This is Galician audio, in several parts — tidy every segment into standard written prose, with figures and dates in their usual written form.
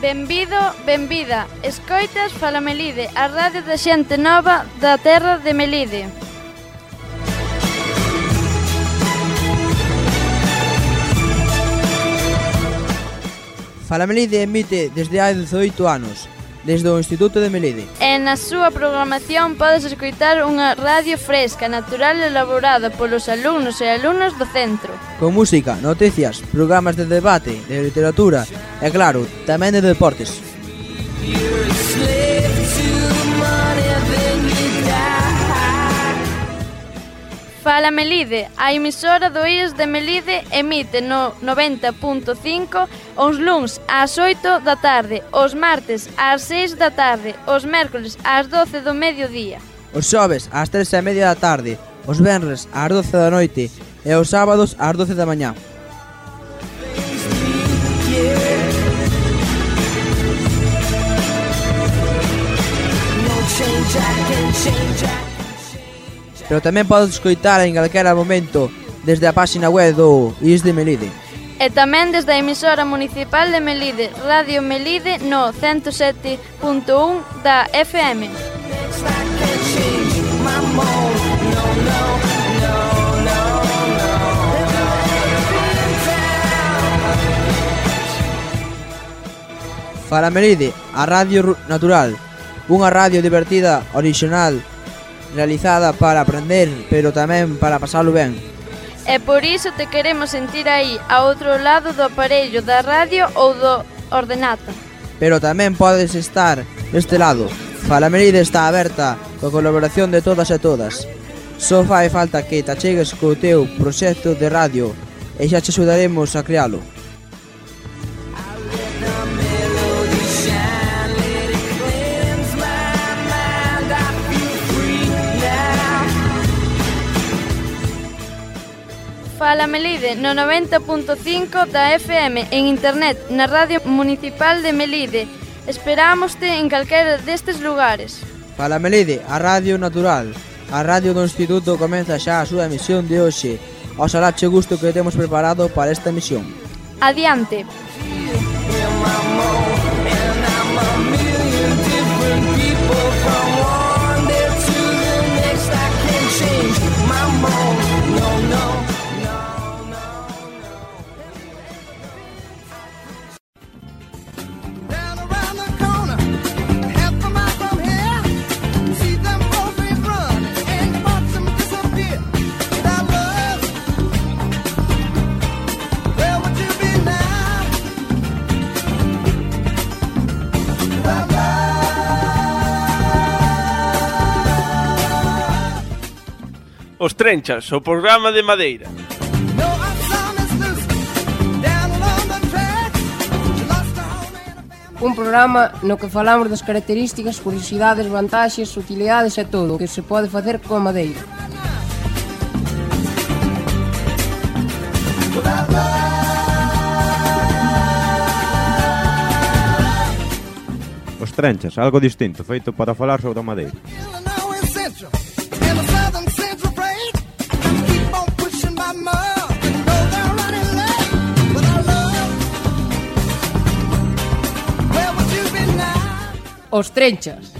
Benvido, benvida. Escoitas Fala Melide, a radio da xente nova da terra de Melide. Fala Melide emite desde hai 18 anos, desde o Instituto de Melide. E na súa programación podes escoitar unha radio fresca, natural e elaborada polos alumnos e alumnas do centro. Con música, noticias, programas de debate, de literatura e, claro, tamén de deportes. Fala Melide, a emisora do IES de Melide emite no 90.5 os luns ás 8 da tarde, os martes ás 6 da tarde, os mércoles ás 12 do mediodía. Os xoves ás 3:30 da tarde, os venres ás 12 da noite e os sábados ás 12 da mañá. Pero tamén podes escoitar en calquera momento desde a páxina web do IES de Melide. E tamén desde a emisora municipal de Melide, Radio Melide no 107.1 da FM. Fala Melide, a radio natural, unha radio divertida, orixinal, realizada para aprender, pero tamén para pasalo ben. E por iso te queremos sentir aí, ao outro lado do aparello da radio ou do ordenata. Pero tamén podes estar deste lado. Fala Melide está aberta coa colaboración de todas e todas. Só fai falta que te achegues co teu proxecto de radio e xa te axudaremos a crealo. Fala Melide no 90.5 da FM en internet na Radio Municipal de Melide. Esperámoste en calquera destes lugares. Fala Melide, a radio natural. A radio do Instituto comeza xa a súa emisión de hoxe. Oxalá che gusto que temos preparado para esta emisión. Adiante. Os Trenchas, o programa de Madeira. Un programa no que falamos das características, curiosidades, vantaxes, utilidades e todo o que se pode facer coa madeira. Os Trenchas, algo distinto, feito para falar sobre a madeira. Os Trenchas.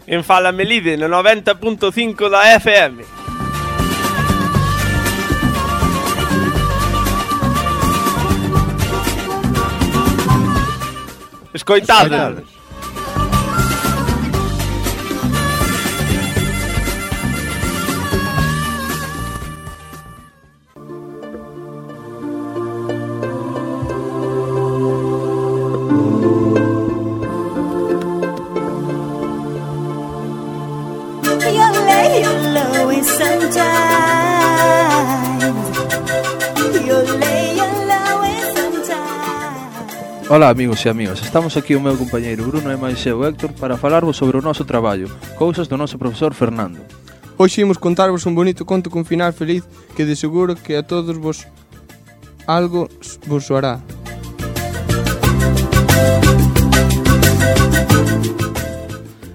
En Fala Melide no 90.5 da FM. Escoitade. Ola amigos e amigas, estamos aquí o meu compañeiro Bruno e máis eu Héctor para falarvos sobre o noso traballo, cousas do noso profesor Fernando. Hoxe imos contarvos un bonito conto con final feliz que de seguro que a todos vos algo vos soará.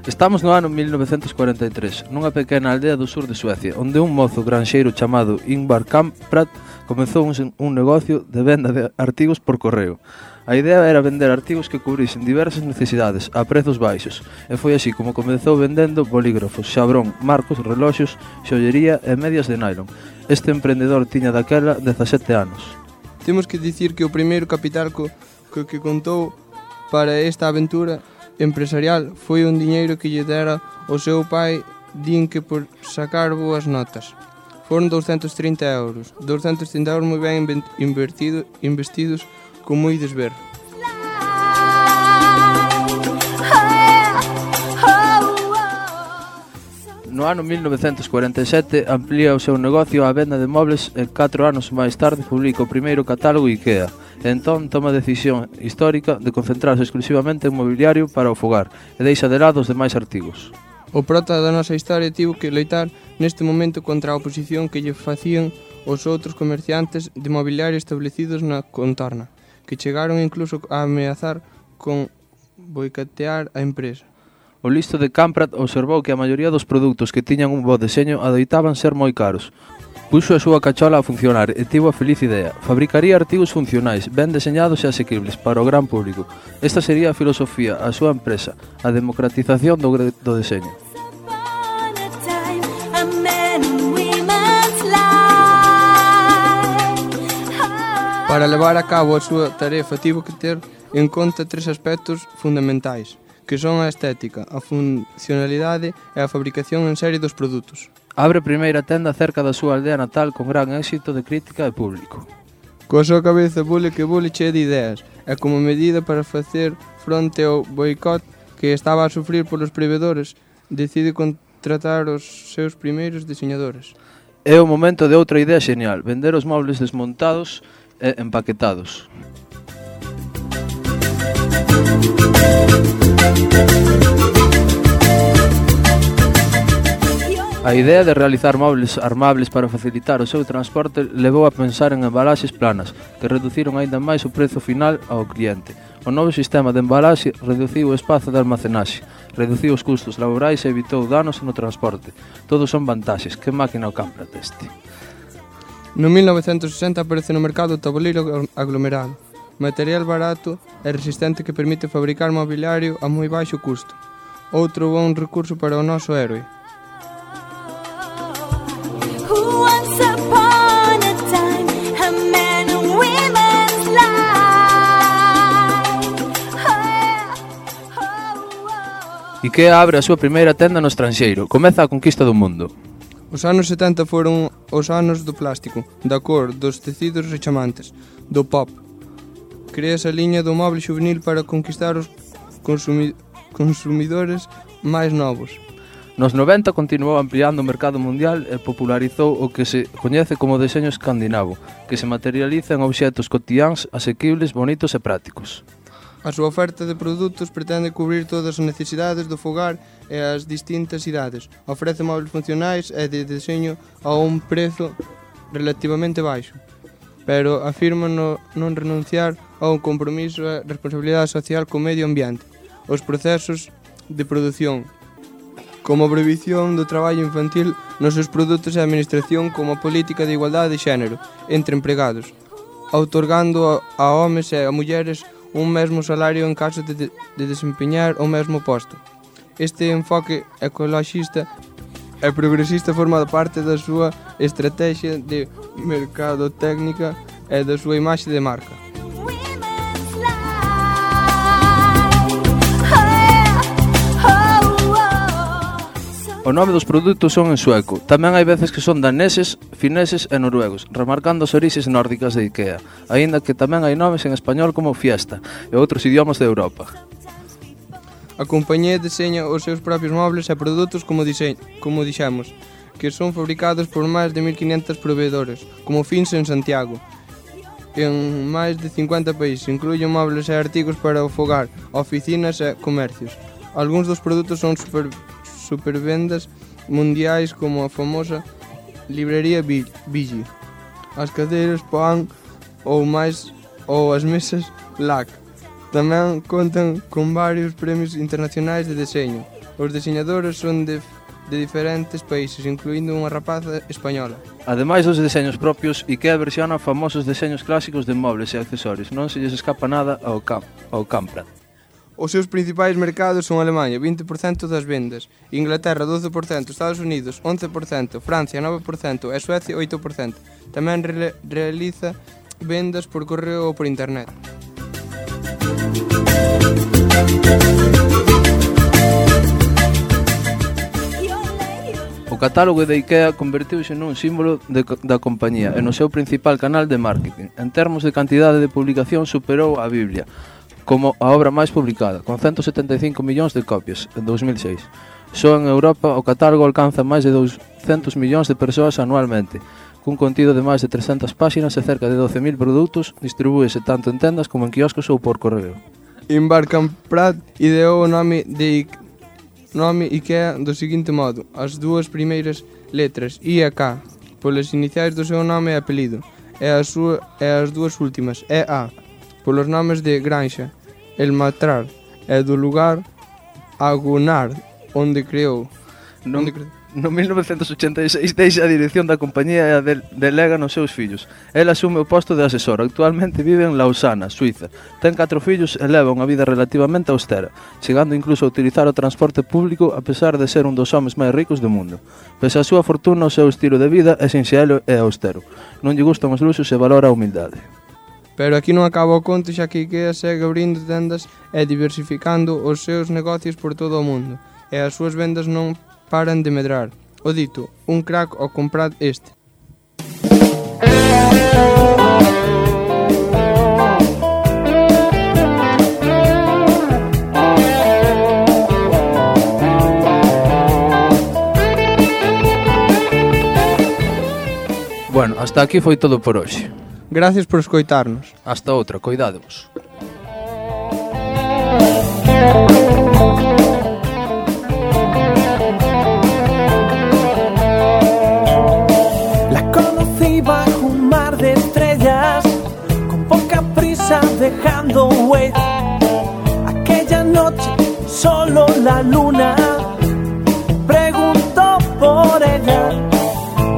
Estamos no ano 1943, nunha pequena aldea do sur de Suecia, onde un mozo granxeiro chamado Ingvar Kamprad comezou un negocio de venda de artigos por correo. A idea era vender artigos que cubrisen diversas necesidades a prezos baixos, e foi así como comezou vendendo bolígrafos, xabrón, marcos, reloxos, xollería e medias de nylon. Este emprendedor tiña daquela 17 anos. Temos que dicir que o primeiro capital que contou para esta aventura empresarial foi un diñeiro que lle dera o seu pai, din que por sacar boas notas. Foron 230 euros. 230 euros moi ben investidos, como ides ver. No ano 1947 amplía o seu negocio á venda de mobles e 4 anos máis tarde publica o primeiro catálogo IKEA. Entón toma a decisión histórica de concentrarse exclusivamente en mobiliario para o fogar e deixa de lado os demais artigos. O prota da nosa historia tivo que loitar neste momento contra a oposición que lle facían os outros comerciantes de mobiliario establecidos na contorna, que chegaron incluso a ameazar con boicotear a empresa. O listo de Kamprad observou que a maioría dos produtos que tiñan un bo deseño adoitaban ser moi caros. Puxo a súa cachola a funcionar e tivo a feliz idea. Fabricaría artigos funcionais, ben deseñados e asequibles para o gran público. Esta sería a filosofía, a súa empresa, a democratización do deseño. Para levar a cabo a súa tarefa tivo que ter en conta 3 aspectos fundamentais, que son a estética, a funcionalidade e a fabricación en serie dos produtos. Abre a primeira tenda cerca da súa aldea natal con gran éxito de crítica e público. Coa súa cabeza bule chea de ideas, e como medida para facer fronte ao boicot que estaba a sufrir polos provedores, decide contratar os seus primeiros diseñadores. É o momento de outra idea xenial, vender os mobles desmontados e empaquetados. A idea de realizar mobles armables para facilitar o seu transporte levou a pensar en embalaxes planas, que reduciron aínda máis o prezo final ao cliente. O novo sistema de embalaxe reduciu o espazo de almacenaxe, reduciu os custos laborais e evitou danos no transporte. Todos son vantaxes. Que máquina o Kamprad este? No 1960 aparece no mercado o tabuleiro aglomerado, material barato e resistente que permite fabricar mobiliario a moi baixo custo. Outro bon recurso para o noso héroe. IKEA abre a súa primeira tenda no estranxeiro. Comeza a conquista do mundo. Os anos 70 foron os anos do plástico, da cor, dos tecidos rechamantes, do pop. Crea esa liña do moble juvenil para conquistar os consumidores máis novos. Nos 90 continuou ampliando o mercado mundial e popularizou o que se coñece como deseño escandinavo, que se materializa en obxectos cotiáns, asequibles, bonitos e prácticos. A súa oferta de produtos pretende cubrir todas as necesidades do fogar e as distintas idades. Ofrece móveis funcionais e de deseño a un prezo relativamente baixo, pero afirma non renunciar ao compromiso e responsabilidade social co medio ambiente, os procesos de produción, como a prohibición do traballo infantil nos seus produtos e a administración como a política de igualdade de xénero entre empregados, outorgando a homes e a mulleres un mesmo salario en caso de desempeñar o mesmo posto. Este enfoque ecoloxista e progresista forma parte da súa estrategia de mercadotécnica e da súa imaxe de marca. O nome dos produtos son en sueco. Tamén hai veces que son daneses, fineses e noruegos, remarcando as orixes nórdicas de IKEA, aínda que tamén hai nomes en español como Fiesta e outros idiomas de Europa. A compañía deseña os seus propios mobles e produtos como dixemos, que son fabricados por máis de 1500 proveedores, como fins en Santiago, en máis de 50 países. Incluyen mobles e artigos para o fogar, oficinas e comercios. Algúns dos produtos son supervendas mundiais como a famosa librería Vigi, as cadeiras Poan ou as mesas LAC. Tamén contan con varios premios internacionais de deseño. Os deseñadores son de diferentes países, incluindo unha rapaza española. Ademais dos deseños propios, IKEA versiona famosos deseños clásicos de mobles e accesorios. Non se lles escapa nada ao Camprad. Os seus principais mercados son Alemanha, 20% das vendas, Inglaterra 12%, Estados Unidos 11%, Francia 9% e Suecia 8%. Tamén realiza vendas por correo ou por internet. O catálogo de IKEA convertiuse nun símbolo da compañía e no seu principal canal de marketing. En termos de cantidade de publicación superou a Biblia como a obra máis publicada, con 175 millóns de copias en 2006. Só en Europa o catálogo alcanza máis de 200 millóns de persoas anualmente, cun contido de máis de 300 páxinas e cerca de 12.000 produtos, distribúese tanto en tendas como en quioscos ou por correo. Ingvar Kamprad ideou o nome IKEA do seguinte modo: as dúas primeiras letras, I e K, polas iniciais do seu nome e apelido, e as dúas últimas, EA, polos nomes de Granja, El Matrar, e do lugar Agunar, onde creou. No 1986 deixa a dirección da compañía e a delega nos seus fillos. El asume o posto de asesor. Actualmente vive en Lausana, Suiza. Ten 4 fillos e leva unha vida relativamente austera, chegando incluso a utilizar o transporte público a pesar de ser un dos homes máis ricos do mundo. Pese a súa fortuna, o seu estilo de vida é sinxelo e austero. Non lle gustan os luxos e valora a humildade. Pero aquí non acaba o conto, xa que IKEA segue abrindo tendas e diversificando os seus negocios por todo o mundo, e as súas vendas non paran de medrar. O dito, un crack ao comprar este. Bueno, hasta aquí foi todo por hoxe. Gracias por escoitarnos. Hasta outra, coidádevos. Bajo un mar de estrellas, con poca prisa dejando huella. Aquella noche solo la luna preguntó por ella.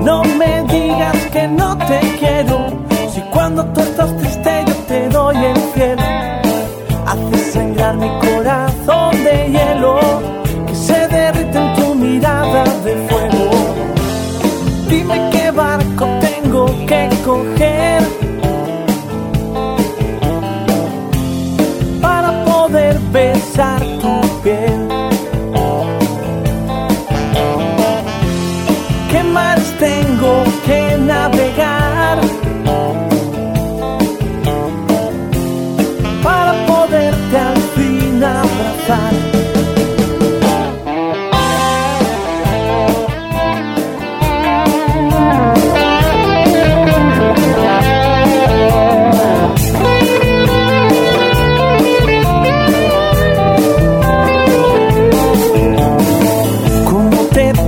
No me digas que no te quiero, si cuando tú estás triste yo te doy el cielo. Haces sangrar mi corazón de hielo, que se derrite en tu mirada de fuego. Dime qué barco tengo que coger para poder besar tu piel. ¿Qué mares tengo que navegar para poderte al fin abrazar?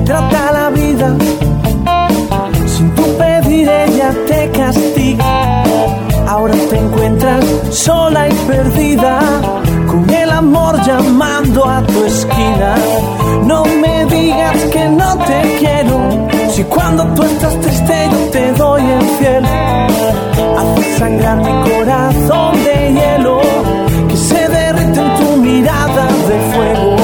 Trata la vida, sin tu pedir ella te castiga. Ahora te encuentras sola y perdida, con el amor llamando a tu esquina. No me digas que no te quiero, si cuando tú estás triste yo te doy el cielo. Haces sangrar mi corazón de hielo, que se derrite en tu mirada de fuego.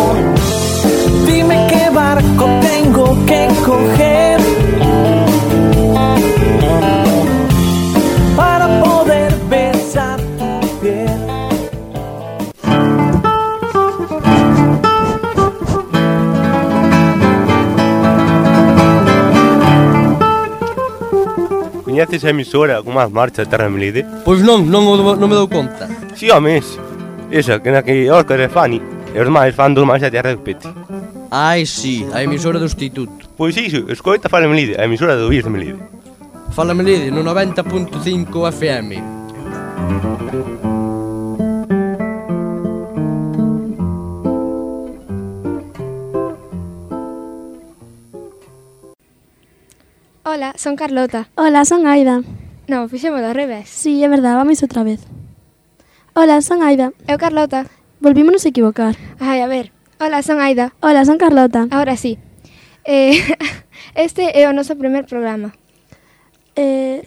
Dime qué barco tengo que coger para poder besar tu piel. Coñeces a emisora con máis marcha de Terra Melide? Pois non me dou conta. Si, homes, esa que na que Óscar e Fanny e os máis fan dos máis a Terra de Pete. Ai, si, a emisora do Instituto. Pois iso, escoita Fala Melide, a emisora do Vías de Melide. Fala Melide no 90.5 FM. Hola, son Carlota. Hola, son Aida. Non, fixemos ao revés. Sí, é verdade, vamos outra vez. Hola, son Aida. Eu Carlota. Volvímonos a equivocar. Ai, a ver. Ola, son Aida. Ola, son Carlota. Ahora sí. Este é o noso primer programa.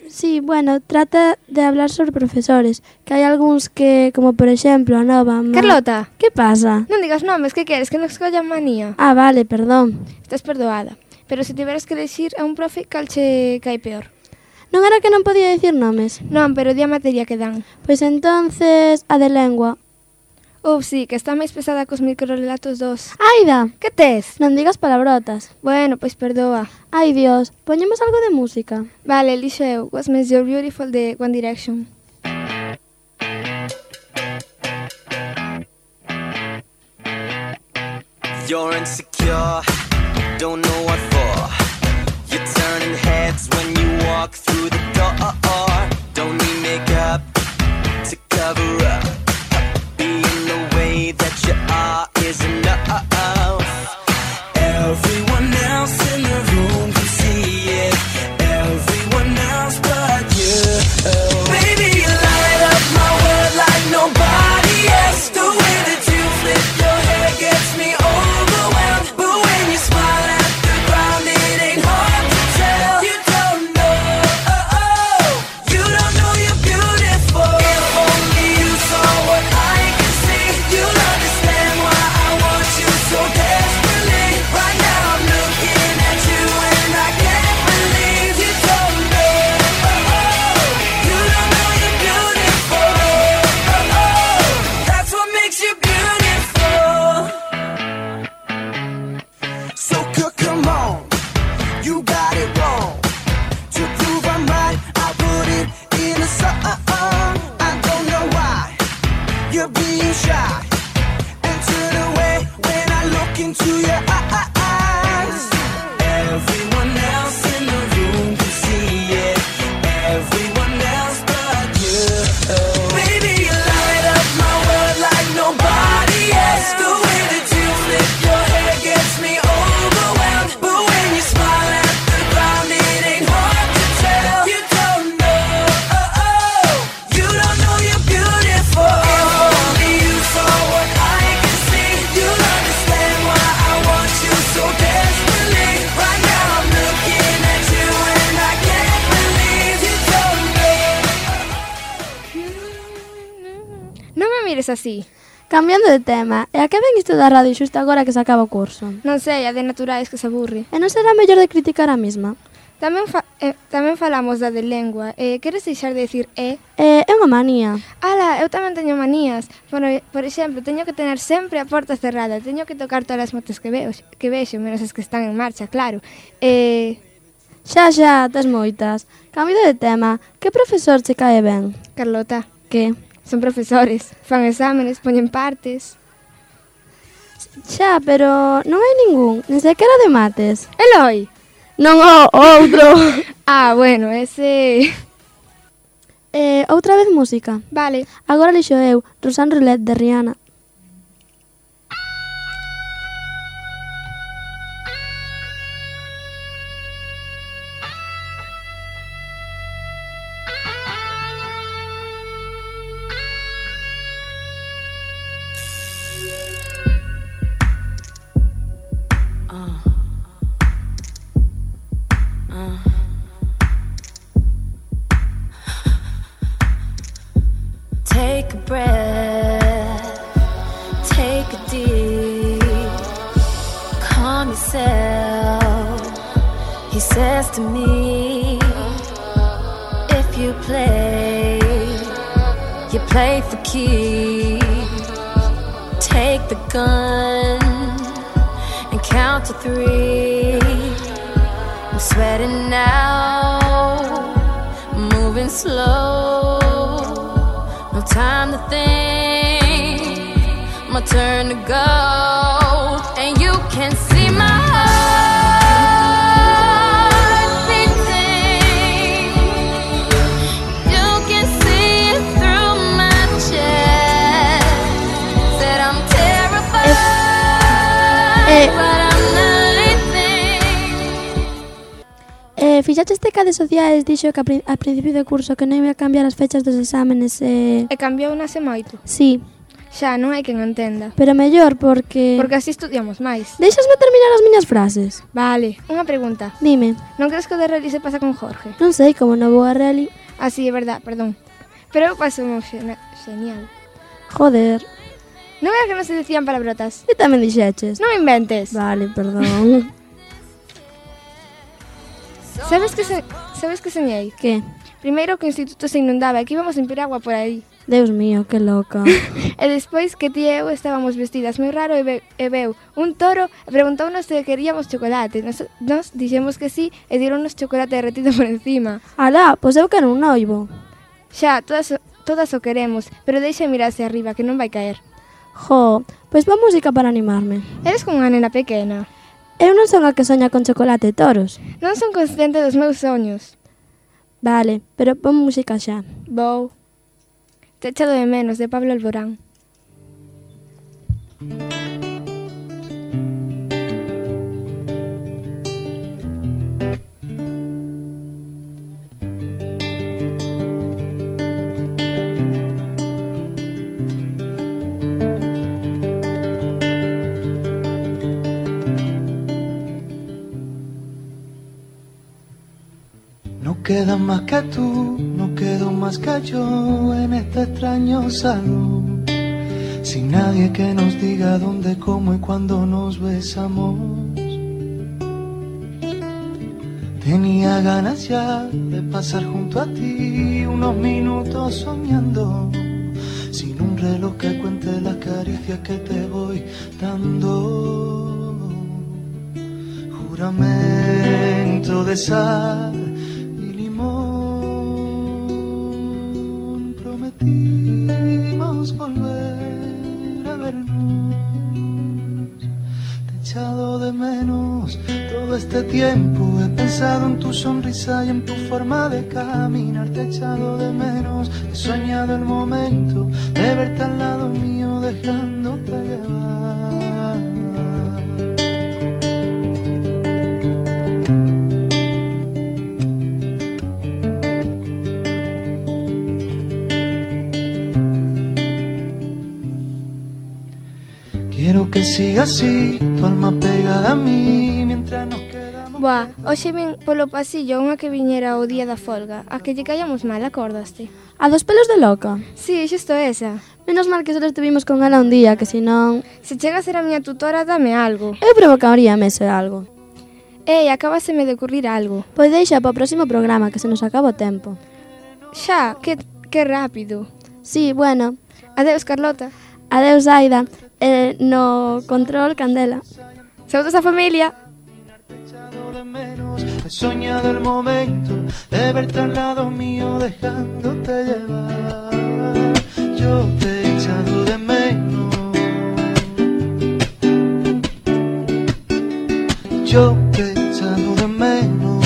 Sí, bueno, trata de hablar sobre profesores, que hai algúns que, como por exemplo, a nova... Carlota! Que pasa? Non digas nomes, que queres? Que non escollan manía? Ah, vale, perdón. Estás perdoada. Pero se tiveras que elegir a un profe, cal che cae peor? Non era que non podía dicir nomes? Non, pero di a materia que dan. Pois entonces, a de lengua. Sí, que está máis pesada cos microrelatos dos. Aida! Que tes? Non digas palabrotas. Bueno, pois perdoa. Ai, Dios, poñemos algo de música. Vale, lixo eu. What Makes You Beautiful de One Direction. You're insecure, don't know what for. You're turning heads when you walk through the door. Don't need makeup to cover up. That you are is enough. Everyone else in the room can see it. Everyone else but you. Baby, you light up my world like nobody else. The way that you flip your hair gets me overwhelmed. But when you smile at the ground, it ain't hard to tell. You don't know, you don't know you're beautiful. If only you saw what I can see, you'll understand why I want you so desperately. Right now I'm looking at you and I can't believe you don't know. You don't know you're beautiful. That's what makes you beautiful. So come on, you got it wrong. To prove I'm right, I put it in a song. I don't know why you're being shy and turn away when I look into your eyes. Everyone else in the room can see it. Everyone else but you. Baby, you light up my world like nobody else. The way that you flip your hair gets me overwhelmed. But when you smile at the ground, it ain't hard to tell. You don't know, you don't know you're beautiful. If only you saw what I can see, you'll understand why I want you so desperately. Right now I'm looking at you and I can't believe you don't know. Non me mires así. Cambiando de tema, e a que ven isto da radio xusto agora que se acaba o curso? Non sei, a de naturais que se aburre. E non será mellor de criticar a mesma? Tamén falamos da de lengua. Queres deixar de decir é? É unha manía. Ala, eu tamén teño manías. Por exemplo, teño que tener sempre a porta cerrada. Teño que tocar todas as motos que vexo, menos as que están en marcha, claro. Xa, tes moitas. Cambio de tema, que profesor che cae ben? Carlota. Que? Son profesores, fan exámenes, poñen partes. Xa, pero non hai ningún, nin sequera de mates. Eloi? Non, o outro. Bueno, ese... Outra vez música. Vale. Agora lixo eu, Rosanne Roulette de Rihanna. Take a breath, take a deep, calm yourself. He says to me, if you play for keeps. Take the gun and count to 3. I'm sweating now, moving slow. No time to think, my turn to go. And you can see my heart beating. You can see it through my chest. Said I'm terrified, but I'm not listening. Fixaches que a de sociais dixo que a principio de curso que non iba a cambiar as fechas dos exámenes E cambiou nase moito? Sí. Xa, non hai quen entenda. Pero mellor porque... Porque así estudiamos máis. Deixasme terminar as miñas frases? Vale, unha pregunta. Dime. Non crees que o de rally se pasa con Jorge? Non sei, como non vou a rally. Ah, sí, é verdad, perdón. Pero eu paso genial. Joder. Non era que non se decían palabrotas? E tamén dixeches. Non me inventes. Vale, perdón. Sabes que soñei? Que? Primeiro que o instituto se inundaba e que íbamos en piragua por aí. Deus mío, que loca. E despois que ti e eu estábamos vestidas moi raro e veu un toro e preguntounos se queríamos chocolate. Nos dixemos que sí e dironnos chocolate derretido por encima. Alá, pois eu quero un noivo. Xa, todas o queremos, pero deixa mirarse arriba que non vai caer. Jo, pois va música para animarme. Eres como unha nena pequena. Eu non son a que soña con chocolate e toros. Non son consciente dos meus soños. Vale, pero pon música xa. Vou. Te echado de menos, de Pablo Alborán. No queda más que tú, no quedo más que yo en este extraño salón, sin nadie que nos diga dónde, cómo y cuándo nos besamos. Tenía ganas ya de pasar junto a ti unos minutos soñando, sin un reloj que cuente las caricias que te voy dando. Juramento de sal y limón, prometimos volver a vernos. Te he echado de menos todo este tiempo, he pensado en tu sonrisa y en tu forma de caminar. Te he echado de menos, he soñado el momento de verte al lado mío dejándote llevar. Quiero que siga así, tu alma pegada a mí, mientras nos quedamos... Boa, hoxe vin polo pasillo unha que viñera o día da folga, a que lle callamos mal, acordaste? A dos pelos de loca? Sí, xusto esa. Menos mal que só estuvimos con ela un día, que senón... Se chega a ser a miña tutora, dame algo. Eu provocaríame ese algo. Ei, acabáseme de ocurrir algo. Pois deixa para o próximo programa, que se nos acaba o tempo. Xa, que rápido. Sí, bueno. Adeus, Carlota. Adeus, Aida. No control, Candela. Saúdos a familia. He soñado el momento de verte al lado mío dejándote llevar. Yo te he echado de menos. Yo te he echado de menos.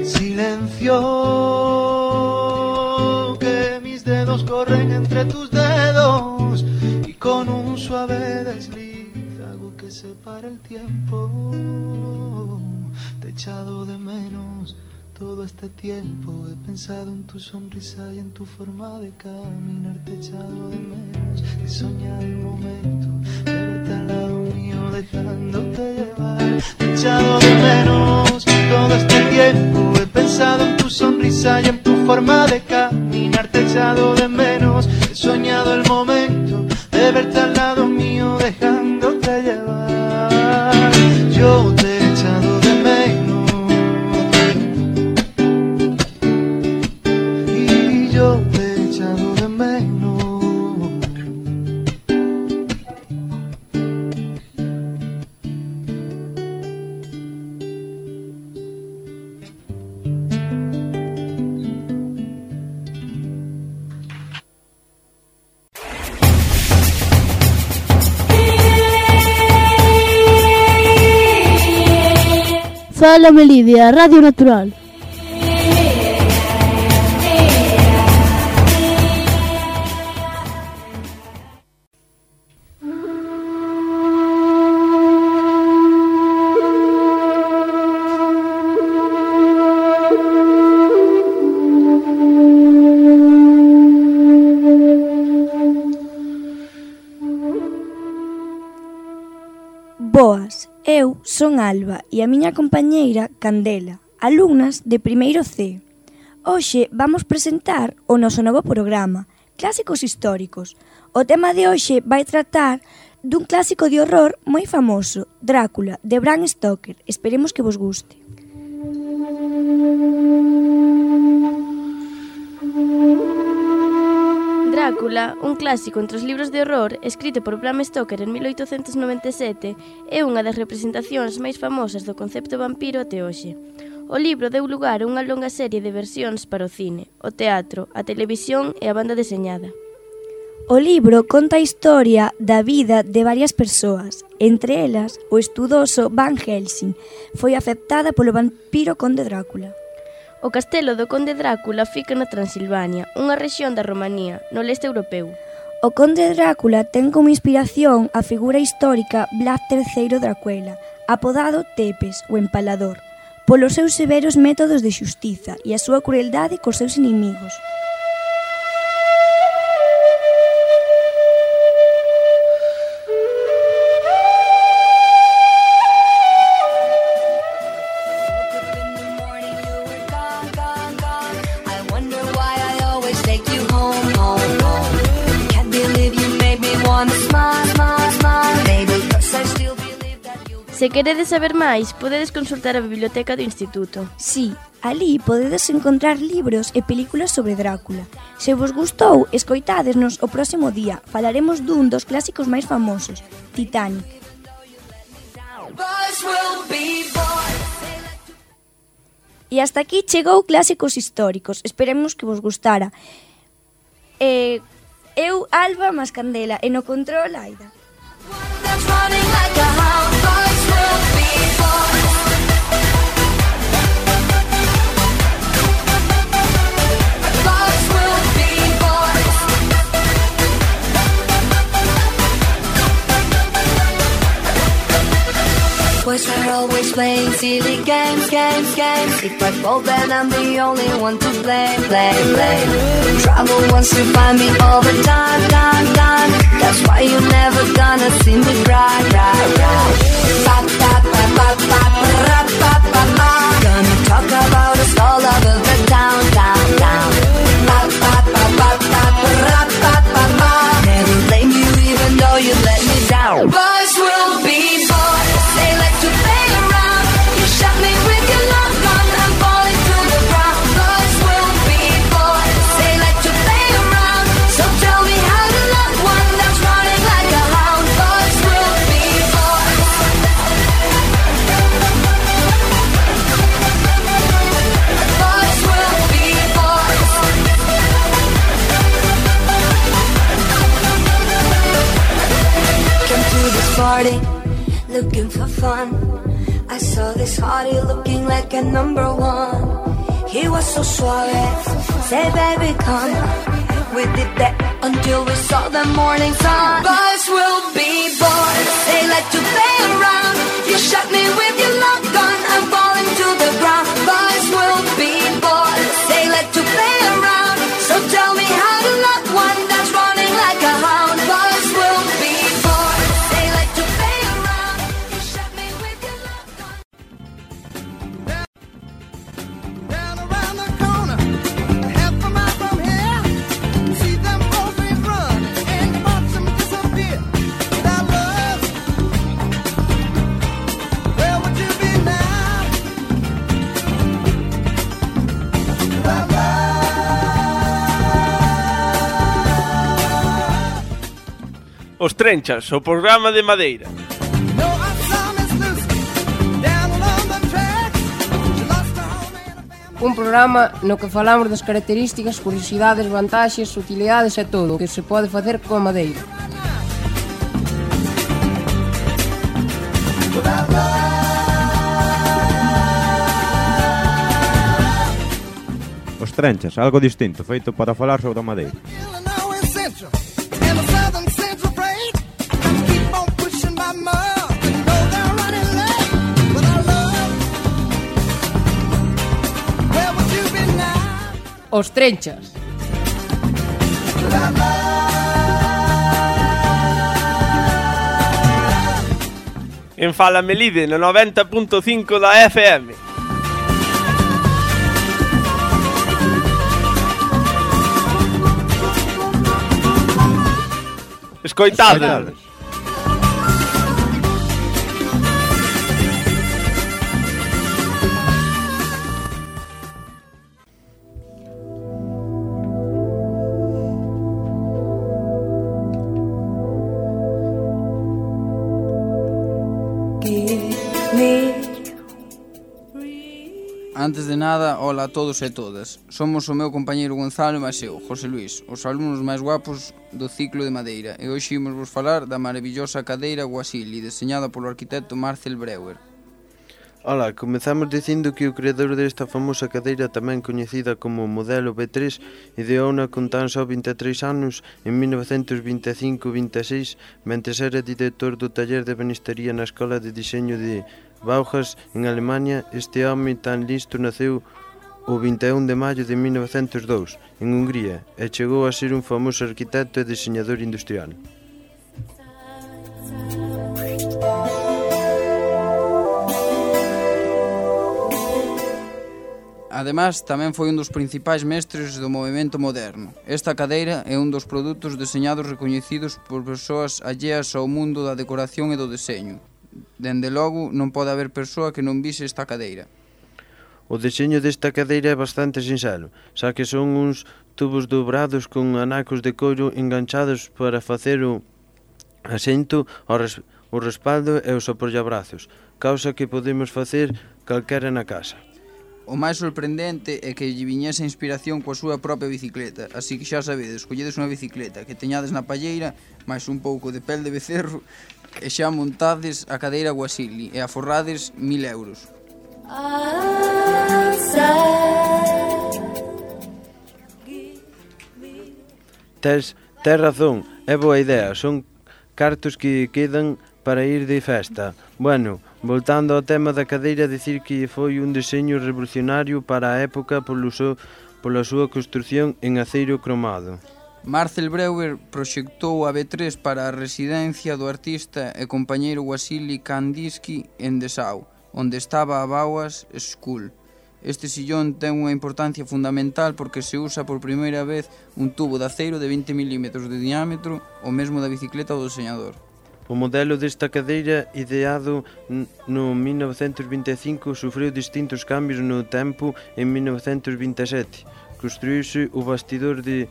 Silencio, corren entre tus dedos y con un suave desliz hago que se pare el tiempo. Te he echado de menos todo este tiempo, he pensado en tu sonrisa y en tu forma de caminar. Te he echado de menos, he soñado el momento de verte al lado mío dejándote llevar. Te he echado de menos todo este tiempo, he pensado en tu sonrisa y en tu forma de caminar. Te he echado de menos, he soñado el momento de verte al lado mío dejándote llevar. Yo te he echado de menos y yo te he echado de menos. Fala Melide, Radio Natural. Alba e a miña compañeira Candela, alumnas de primeiro C. Hoxe vamos presentar o noso novo programa, Clásicos Históricos. O tema de hoxe vai tratar dun clásico de horror moi famoso, Drácula, de Bram Stoker. Esperemos que vos guste. Drácula, un clásico entre os libros de horror escrito por Bram Stoker en 1897, é unha das representacións máis famosas do concepto vampiro até hoxe. O libro deu lugar a unha longa serie de versións para o cine, o teatro, a televisión e a banda deseñada. O libro conta a historia da vida de varias persoas, entre elas o estudoso Van Helsing. Foi afectada polo vampiro conde Drácula. O castelo do conde Drácula fica na Transilvania, unha rexión da Romanía, no leste europeu. O conde Drácula ten como inspiración a figura histórica Vlad III Dracuela, apodado Tepes, o empalador, polos seus severos métodos de xustiza e a súa crueldade cos seus inimigos. Se queredes saber máis, podedes consultar a biblioteca do Instituto. Sí, ali podedes encontrar libros e películas sobre Drácula. Se vos gustou, escoitádesnos o próximo día. Falaremos dun dos clásicos máis famosos, Titanic. E hasta aquí chegou Clásicos Históricos. Esperemos que vos gustara. Eu, Alba, máis Candela, e no control, Aida. Boys are always playing silly games. If I fall then I'm the only one to blame. Trouble wants to find me all the time. That's why you're never gonna see me cry. Gonna talk about us all over the town. Never blame you even though you let me down. Boys will be boys. They like to play around. You shot me with your long gun. I'm falling to the ground. Boys will be boys. They like to play around. So tell me how to love one that's running like a hound. Boys will be boys. Boys will be boys. Come to this party looking for fun. I saw this hottie looking like a number one. He was so suave, say baby come. We did that until we saw the morning sun. Boys will be boys, they like to play around. You shot me with your long gun, I'm falling to the ground. Boys will be boys, they like to play around. So tell me how to love one that's running like a hound. Boys will be boys, they like to play around. You shot me with your long gun. Down around the corner, half a mile from here, see them both run and watch them disappear. Without love, where would you be now? Without love. Os Trenchas, o programa de Madeira. No, I saw Miss Lucy down along the tracks. She lost her home and a family. Un programa no que falamos das características, curiosidades, vantaxes, utilidades e todo o que se pode facer coa madeira. Os Trenchas, algo distinto, feito para falar sobre a madeira. Illinois Central and the Southern Central break. Keep on pushing my mug and go they're running late. Without love, where would you be now? Os Trenchas. Without love. En Fala Melide, no 90.5 da FM. Escoitade. Antes de nada, hola a todos e todas. Somos o meu compañeiro Gonzalo e máis eu, José Luís, os alumnos máis guapos do ciclo de Madeira, e hoxe imos vos falar da maravillosa cadeira Guasili, deseñada polo arquitecto Marcel Breuer. Ola, comezamos dicindo que o creador desta famosa cadeira, tamén coñecida como modelo B3, ideouna con tan só 23 anos en 1925-26, mentres era director do taller de ebanistería na Escola de Diseño de Bauhaus, en Alemania. Este home tan listo naceu o 21 de maio de 1902, en Hungría, e chegou a ser un famoso arquitecto e diseñador industrial. Ademais, tamén foi un dos principais mestres do movimento moderno. Esta cadeira é un dos produtos deseñados recoñecidos por persoas alleas ao mundo da decoración e do deseño. Dende logo, non pode haber persoa que non vise esta cadeira. O deseño desta cadeira é bastante sinxelo, xa que son uns tubos dobrados con anacos de coiro enganchados para facer o asento, o respaldo e os apoiabrazos, causa que podemos facer calquera na casa. O máis sorprendente é que lle viñese inspiración coa súa propia bicicleta, así que xa sabedes, colledes unha bicicleta que teñades na palleira, máis un pouco de pel de becerro, e xa montades a cadeira Guasili e aforrades 1.000 euros. Tes razón, é boa idea, son cartos que quedan para ir de festa. Bueno, voltando ao tema da cadeira, dicir que foi un deseño revolucionario para a época pola súa construción en aceiro cromado. Marcel Breuer proxectou a B3 para a residencia do artista e compañeiro Wassily Kandinsky en Dessau, onde estaba a Bauhaus School. Este sillón ten unha importancia fundamental porque se usa por primeira vez un tubo de aceiro de 20 mm de diámetro, o mesmo da bicicleta do deseñador. O modelo desta cadeira, ideado no 1925, sufriu distintos cambios no tempo. En 1927 construíuse o bastidor de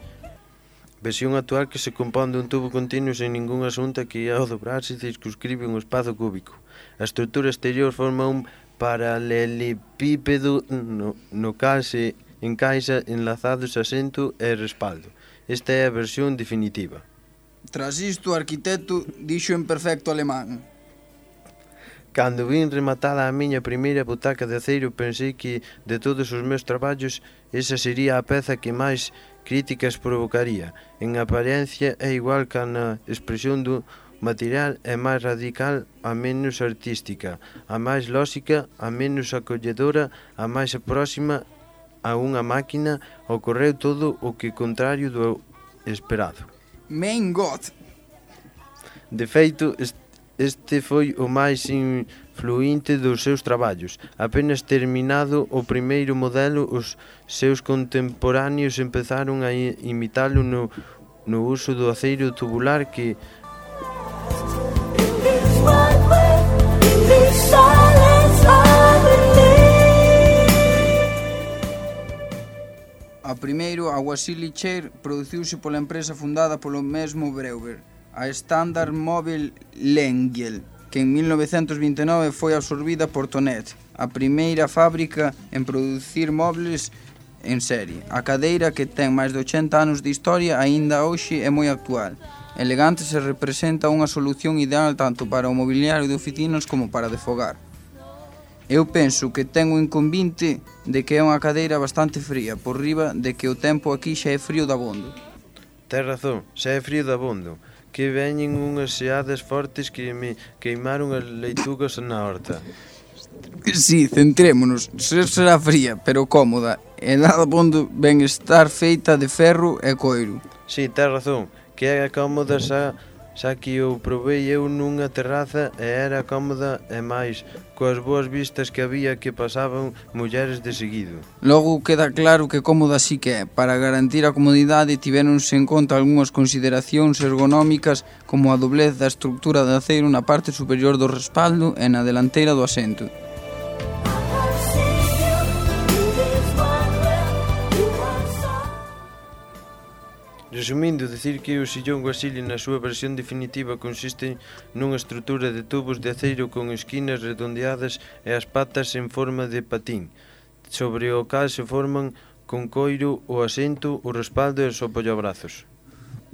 versión actual, que se compón dun tubo continuo sen ningún asunto que ao dobrarse circunscribe un espazo cúbico. A estrutura exterior forma un paralelepípedo no cal se encaixa enlazados asento e respaldo. Esta é a versión definitiva. Tras isto, o arquitecto dixo en perfecto alemán: Cando vin rematada a miña primeira butaca de aceiro, pensei que, de todos os meus traballos, esa sería a peza que máis críticas provocaría. En apariencia é igual que na expresión do material, é máis radical, a menos artística, a máis lóxica, a menos acolledora, a máis próxima a unha máquina. Ocorreu todo o que contrario do esperado. Mein Gott! De feito, este foi o máis influinte dos seus traballos. Apenas terminado o primeiro modelo, os seus contemporáneos empezaron a imitalo no uso do aceiro tubular que A primeiro, a Wassily Chair produciuse pola empresa fundada polo mesmo Breuer, a Standard Mobile Lengyel, que en 1929 foi absorbida por Tonet, a primeira fábrica en producir mobles en serie. A cadeira, que ten máis de 80 anos de historia, aínda hoxe é moi actual. Elegante, se representa unha solución ideal tanto para o mobiliario de oficinas como para de fogar. Eu penso que ten o inconvinte de que é unha cadeira bastante fría, por riba de que o tempo aquí xa é frío dabondo. Tes razón, xa é frío dabondo, que veñen unhas xeadas fortes que me queimaron as leitugas na horta. Sí, centrémonos, será fría, pero cómoda, e dabondo ben estar feita de ferro e coiro. Sí, tes razón, que é cómoda xa xa que o provei eu nunha terraza e era cómoda e máis coas boas vistas que había que pasaban mulleres de seguido. Logo queda claro que cómoda sí que é. Para garantir a comodidade tivéronse en conta algunhas consideracións ergonómicas como a doblez da estructura de aceiro na parte superior do respaldo e na delanteira do asento. Resumindo, decir que o sillón Guasili na súa versión definitiva consiste nunha estrutura de tubos de aceiro con esquinas redondeadas e as patas en forma de patín, sobre o cal se forman con coiro o asento, o respaldo e os apoiabrazos.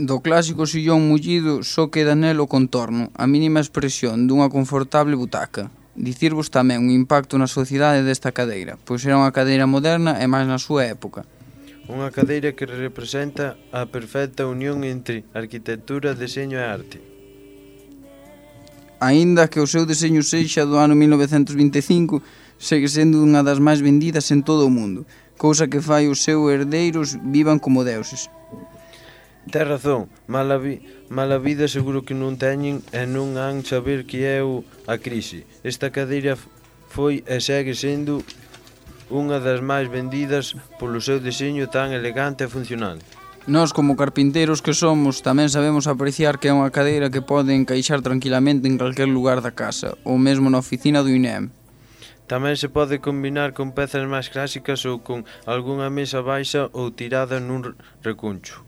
Do clásico sillón mullido só queda nel o contorno, a mínima expresión dunha confortable butaca. Dicirvos tamén o impacto na sociedade desta cadeira, pois era unha cadeira moderna e máis na súa época. Unha cadeira que representa a perfecta unión entre arquitectura, deseño e arte. Aínda que o seu deseño sexa do ano 1925, segue sendo unha das máis vendidas en todo o mundo, cousa que fai os seus herdeiros vivan como deuses. Tes razón, mala vida seguro que non teñen e non han saber que é a crise. Esta cadeira foi e segue sendo unha das máis vendidas polo seu deseño tan elegante e funcional. Nós, como carpinteiros que somos, tamén sabemos apreciar que é unha cadeira que pode encaixar tranquilamente en calquer lugar da casa, ou mesmo na oficina do INEM. Tamén se pode combinar con pezas máis clásicas ou con algunha mesa baixa ou tirada nun recuncho.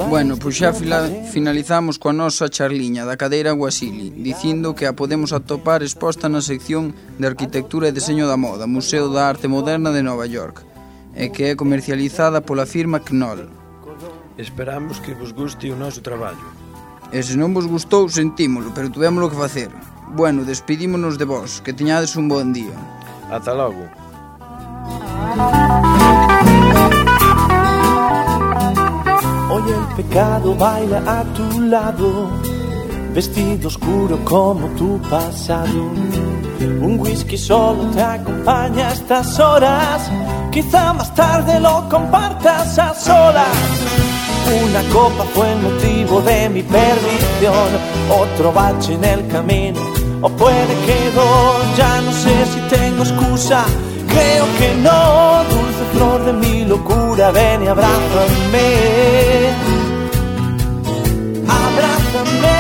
Bueno, pois xa finalizamos coa nosa charliña da cadeira Guasili, dicindo que a podemos atopar exposta na sección de Arquitectura e Deseño da Moda, Museo da Arte Moderna de Nova York, e que é comercializada pola firma Knoll. Esperamos que vos guste o noso traballo. E se non vos gustou, sentímolo, pero tuvémolo que facer. Bueno, despedímonos de vos, que teñades un bon día. Ata logo. Hoy el pecado baila a tu lado, vestido oscuro como tu pasado. Un whisky solo te acompaña a estas horas, quizá más tarde lo compartas a solas. Una copa fue el motivo de mi perdición, otro bache en el camino, o puede que dos, ya no sé si tengo excusa. Creo que no, dulce flor de mi locura, ven y abrázame. Abrázame.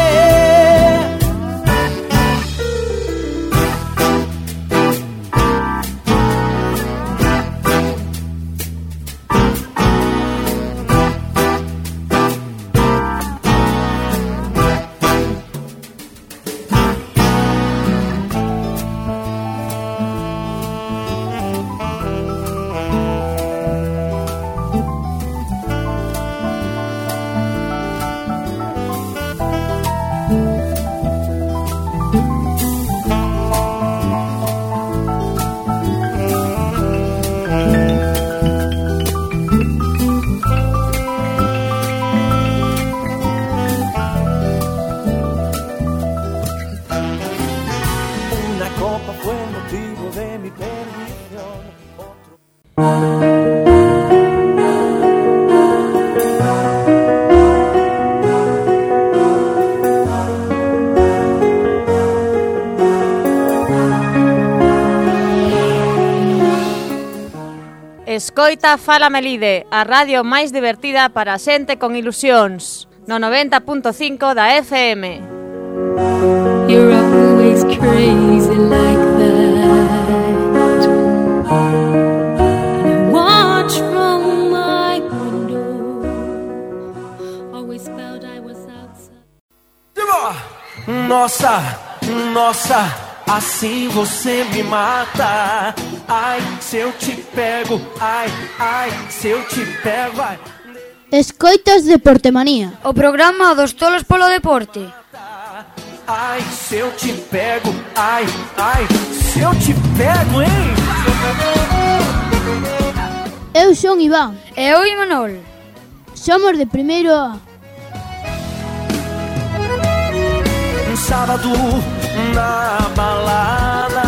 Escoita Fala Melide, a radio máis divertida para a xente con ilusións, no 90.5 da FM. You're always crazy like that, and I watch from my window, always felt I was outside. Nossa, nossa, assim você me mata. Ai, se eu te pego, ai, ai, se eu te pego, ai. Escoitas Deportemanía, o programa dos tolos polo deporte. Ai, se eu te pego, ai, ai, se eu te pego, hein? Eu son Iván. E eu Imanol. Somos de primeiro A. sábado na balada.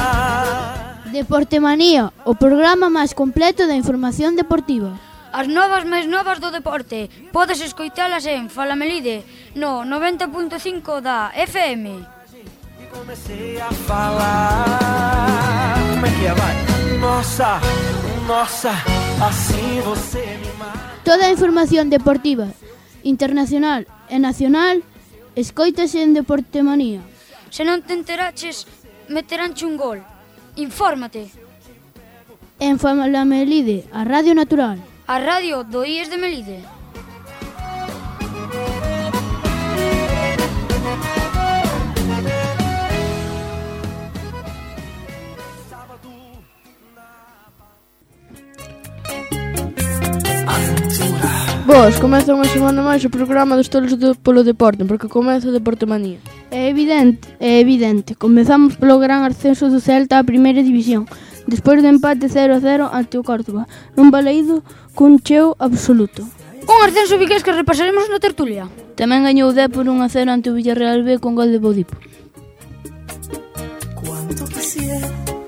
Deportemanía, o programa máis completo da información deportiva. As novas máis novas do deporte podes escoitalas en Fala Melide no 90.5 da FM. Comecei a falar. Como é que é, vai? Nossa, nossa, assim você me mata. Toda a información deportiva, internacional e nacional, escoítase en Deportemanía. Se non te enteraches, meteránche un gol. Infórmate. En Fala Melide, a Radio Natural. A radio do IES de Melide. Vos, comeza unha semana máis o programa dos tolos polo deporte, porque comeza Deportemanía. É evidente. Comezamos polo gran ascenso do Celta á primeira división, despois do empate 0-0 ante o Córdoba, nun baleído cun cheo absoluto. Un ascenso vigués que repasaremos na tertulia. Tamén gañou o Dépor 1-0 ante o Villarreal B con gol de Bodipo.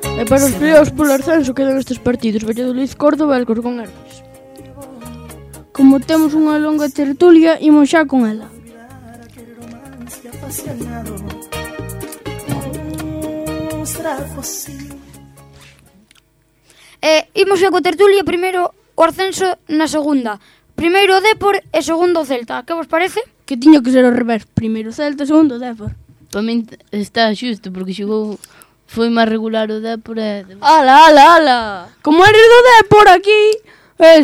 E para os peleados polo ascenso quedan estes partidos: Valladolid, Córdoba e Alcorcón Herbis. Como temos unha longa tertulia, imos xa con ela. Imos xa coa tertulia, primeiro o ascenso na segunda. Primeiro o Dépor e segundo o Celta. Que vos parece? Que tiña que ser ao revés. Primeiro o Celta, segundo o Dépor. Para min está xusto, porque xogou... Foi máis regular o Dépor e... Ala! Como eres do Dépor aquí...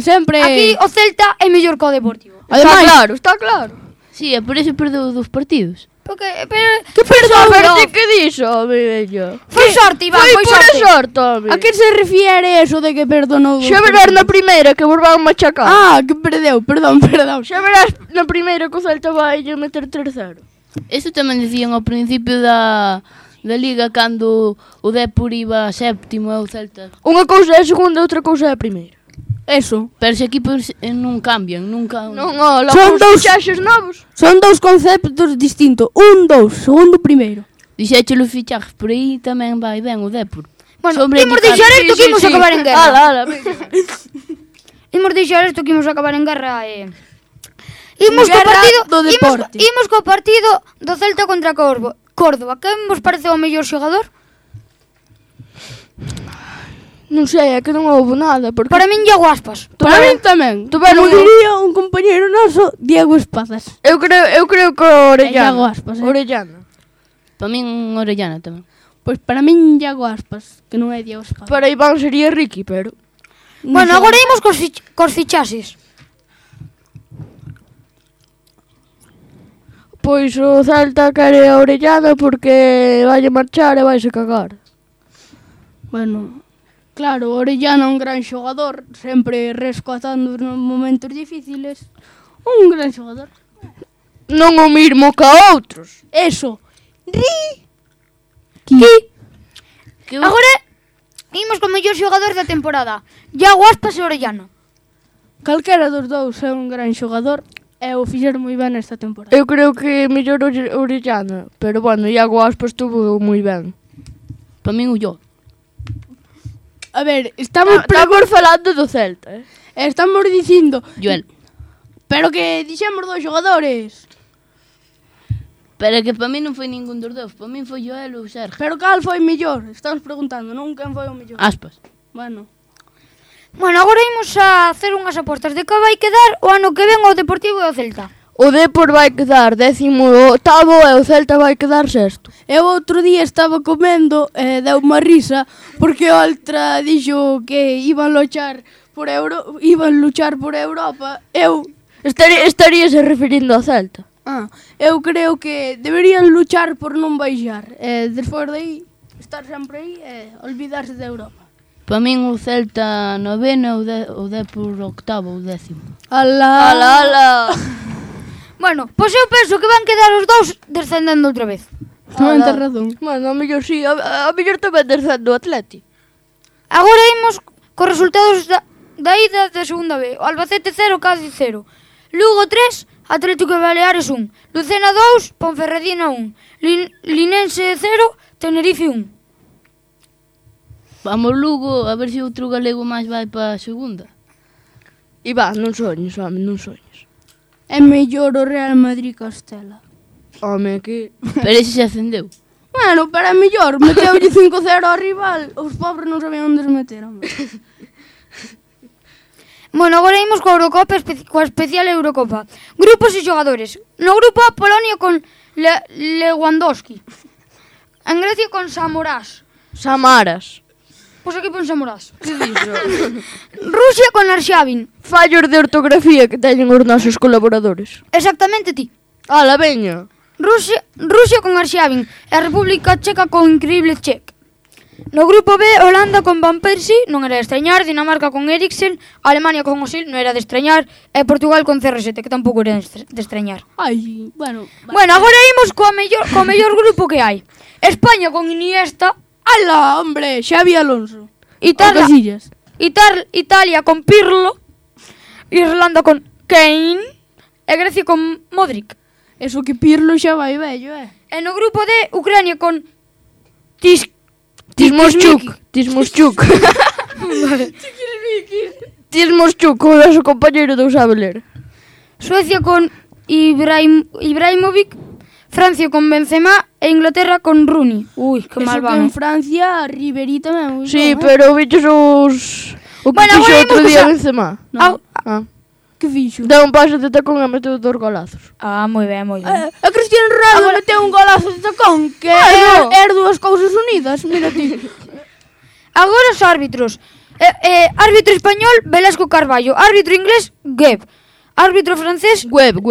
sempre... Aquí o Celta é mellor que o Deportivo. Ademais, está claro. Sí, é por eso perdeu dos partidos. Porque, que sorte que dixo, bello. Foi sorte, Iván, foi sorte. A que se refiere eso de que perdonou? Xa verás na primeira que vos van machacar. Que perdeu, perdón. Xa verás na primeira que o Celta vai meter 3-0. Eso tamén dicían ao principio da Liga, cando o Dépor iba séptimo e o Celta. Unha cousa é a segunda e outra cousa é a primeira. Eso. Pero os equipos non cambian, nunca... Son dous fichaxes novos. Son dous conceptos distintos. Segundo, primeiro. Dixéchelo fichajes, por aí tamén vai ben o Dépor. Bueno, imos deixar isto que imos acabar en guerra. Imos deixar isto que imos acabar en guerra. Imos co partido do Celta contra Córdoba. Que vos parece o mellor xogador? Non sei, é que non houve nada. Para min, Iago Aspas. Para min tamén. Como diría un compañero noso, Diego Espadas. Eu creo que Orellana. Iago Aspas. Orellana. Para min, Orellana tamén. Pois para min, Iago Aspas, que non é Diego Espadas. Para Iván sería Ricky, pero... Bueno, agora imos cos fichaxes. Pois o Celta quere a Orellana porque vai a marchar e vai se cagar. Bueno... Claro, Orellana é un gran xogador, sempre rescatando nos momentos difíciles. Un gran xogador. Non o mismo que a outros. Eso. Agora imos co mellor xogador da temporada. Iago Aspas e Orellana. Calquera dos dous é un gran xogador e o fixeron moi ben esta temporada. Eu creo que mellor Orellana, pero bueno, Iago Aspas estuvo moi ben. Para min o yo. A ver, estamos falando do Celta, estamos dicindo... Joel. Pero que dixemos dos xogadores. Pero que para mí non foi ningún dos dous. Para mí foi Joel ou Sergio. Pero cal foi mellor? Estamos preguntando, non quen foi o mellor. Aspas. Bueno, agora imos a hacer unhas apostas de que vai quedar o ano que ven o Deportivo e o Celta. O Dépor vai quedar 18º e o Celta vai quedar 6º. Eu outro día estaba comendo e deu unha risa porque o Oltra dixo que iban luchar por Europa. Eu estaríase referindo ao Celta. Eu creo que deberían luchar por non baixar. E despois de aí, estar sempre aí e olvidarse de Europa. Para min o Celta 9º e o Dépor 8º ou 10º. Ala. Bueno, pois eu penso que van quedar os dous descendendo outra vez. Non tens razón. Bueno, a mellor sí, a mellor tamén descende o Atleti. Agora imos cos resultados da ida de segunda B. O Albacete 0, Cádiz 0. Lugo 3, Atlético de Baleares 1, Lucena 2, Ponferradina 1, Linense 0, Tenerife 1. Vamos Lugo, a ver se outro galego máis vai para a segunda. Iván, non soñes, home, non soñes. É mellor o Real Madrid Castela. Home, que... Pero ese se ascendeu. Bueno, pero é mellor, meteulle 5-0 ao rival, os pobres non sabían onde se meteron. Bueno, agora imos coa Eurocopa, coa especial Eurocopa. Grupos e xogadores. No grupo A, Polonia con Lewandowski. En Grecia con Samaras. Pois aquí pon Samaras. Que dixo? Rusia con Arshavin. Fallos de ortografía que teñen os nosos colaboradores. Exactamente ti. Ala, veña. Rusia con Arshavin e a República Checa con Increíble Chek. No grupo B, Holanda con Van Persie, non era de estreñar, Dinamarca con Eriksen, Alemania con Osil, non era de estreñar, e Portugal con CR7, que tampouco era de estreñar. Ai, bueno. Bueno, agora imos co mellor grupo que hai. España con Iniesta. Ala, hombre, Xavi Alonso. Italia con Pirlo. Irlanda con Kane. E Grecia con Modric. Eso que Pirlo xa vai vello, E no grupo D, Ucrania con Tismoschuk. Vale. Tismoschuk, o noso compañeiro non sabe ler. Suecia con Ibrahimovic. Francia con Benzema e Inglaterra con Rooney. Ui, que mal van. En Francia, Ribery tamén. Sí, pero bichos os... O que fixo outro día Benzema. Que fixo? Deu un paso de tacón e meteu 2 golazos. Moi ben, moi ben. A Cristiano Ronaldo meteu un golazo de tacón, que é dúas cousas unidas, mira ti. Agora os árbitros. Árbitro español, Velasco Carballo. Árbitro inglés, Gebb. Árbitro francés... Webb.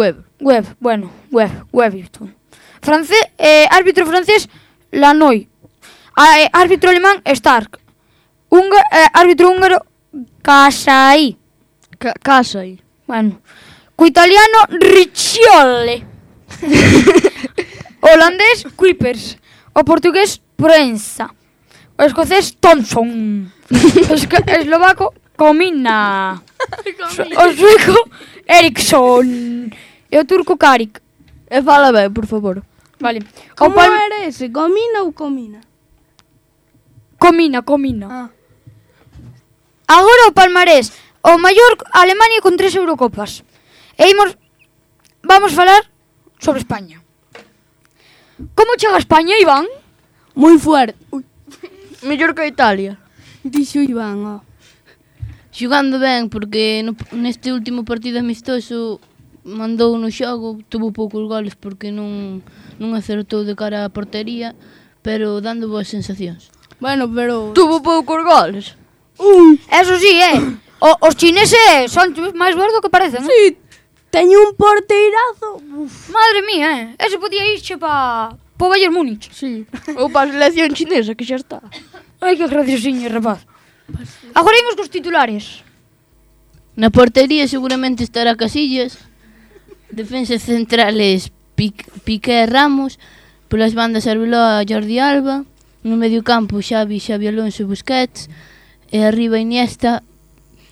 Árbitro francés, Lanoy. Árbitro alemán, Stark. Árbitro húngaro, Casai. Bueno. Co italiano, Riccioli. Holandés, Kuipers. O portugués, Proenza. O escocés, Thompson. Eslovaco, Komina. O sueco, Eriksson. E o turco, Karik. E fala ben, por favor. Vale. Como era ese? Comina ou Comina? Comina. Agora o palmarés. O maior Alemania con 3 Eurocopas. E vamos falar sobre España. Como chega España, Iván? Moi fuerte. Mellor que a Italia. Dixo Iván, Xogando ben, porque neste último partido amistoso mandou no xogo, tuvo poucos goles porque non acertou de cara á portería, pero dando boas sensacións. Bueno, pero... Tuvo poucos goles. Eso sí, os chineses son máis gordos que parecen, Sí, teño un porteirazo. Madre mía, ese podía irche pa Bayern Múnich. Sí, ou pa selección chinesa, que xa está. Ai, que graciosiño, rapaz. Agora imos cos titulares. Na portería seguramente estará Casillas. Defensas centrales Piqué e Ramos. Polas bandas Arbeloa e Jordi Alba. No medio campo Xavi Alonso e Busquets. E arriba Iniesta,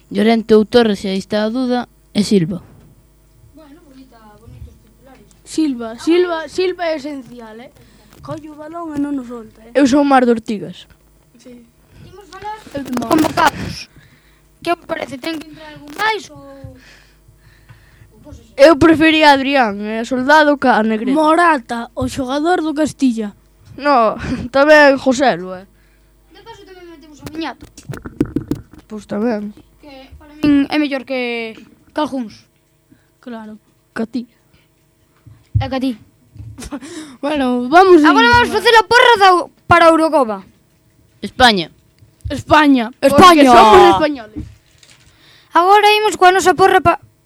Llorente ou Torres, e aí está a duda, e Silva. Bueno, bonitos titulares. Silva é esencial, Colle o balón e non o solta, Eu son Mar de Ortigas. Sí. Imos falar convocados. Que vos parece? Ten que entrar algún máis ou... Eu prefería a Adrián, Soldado ca Negrete. Morata, o xogador do Castilla. No, tamén Joselu, De paso tamén metemos a Miñato. Pois tamén. Que para min é mellor que algúns. Claro, que a ti. É que a ti. Bueno, vamos a... Agora vamos facer a porra para a Eurocopa. España. Porque somos españoles. Agora imos coa nosa porra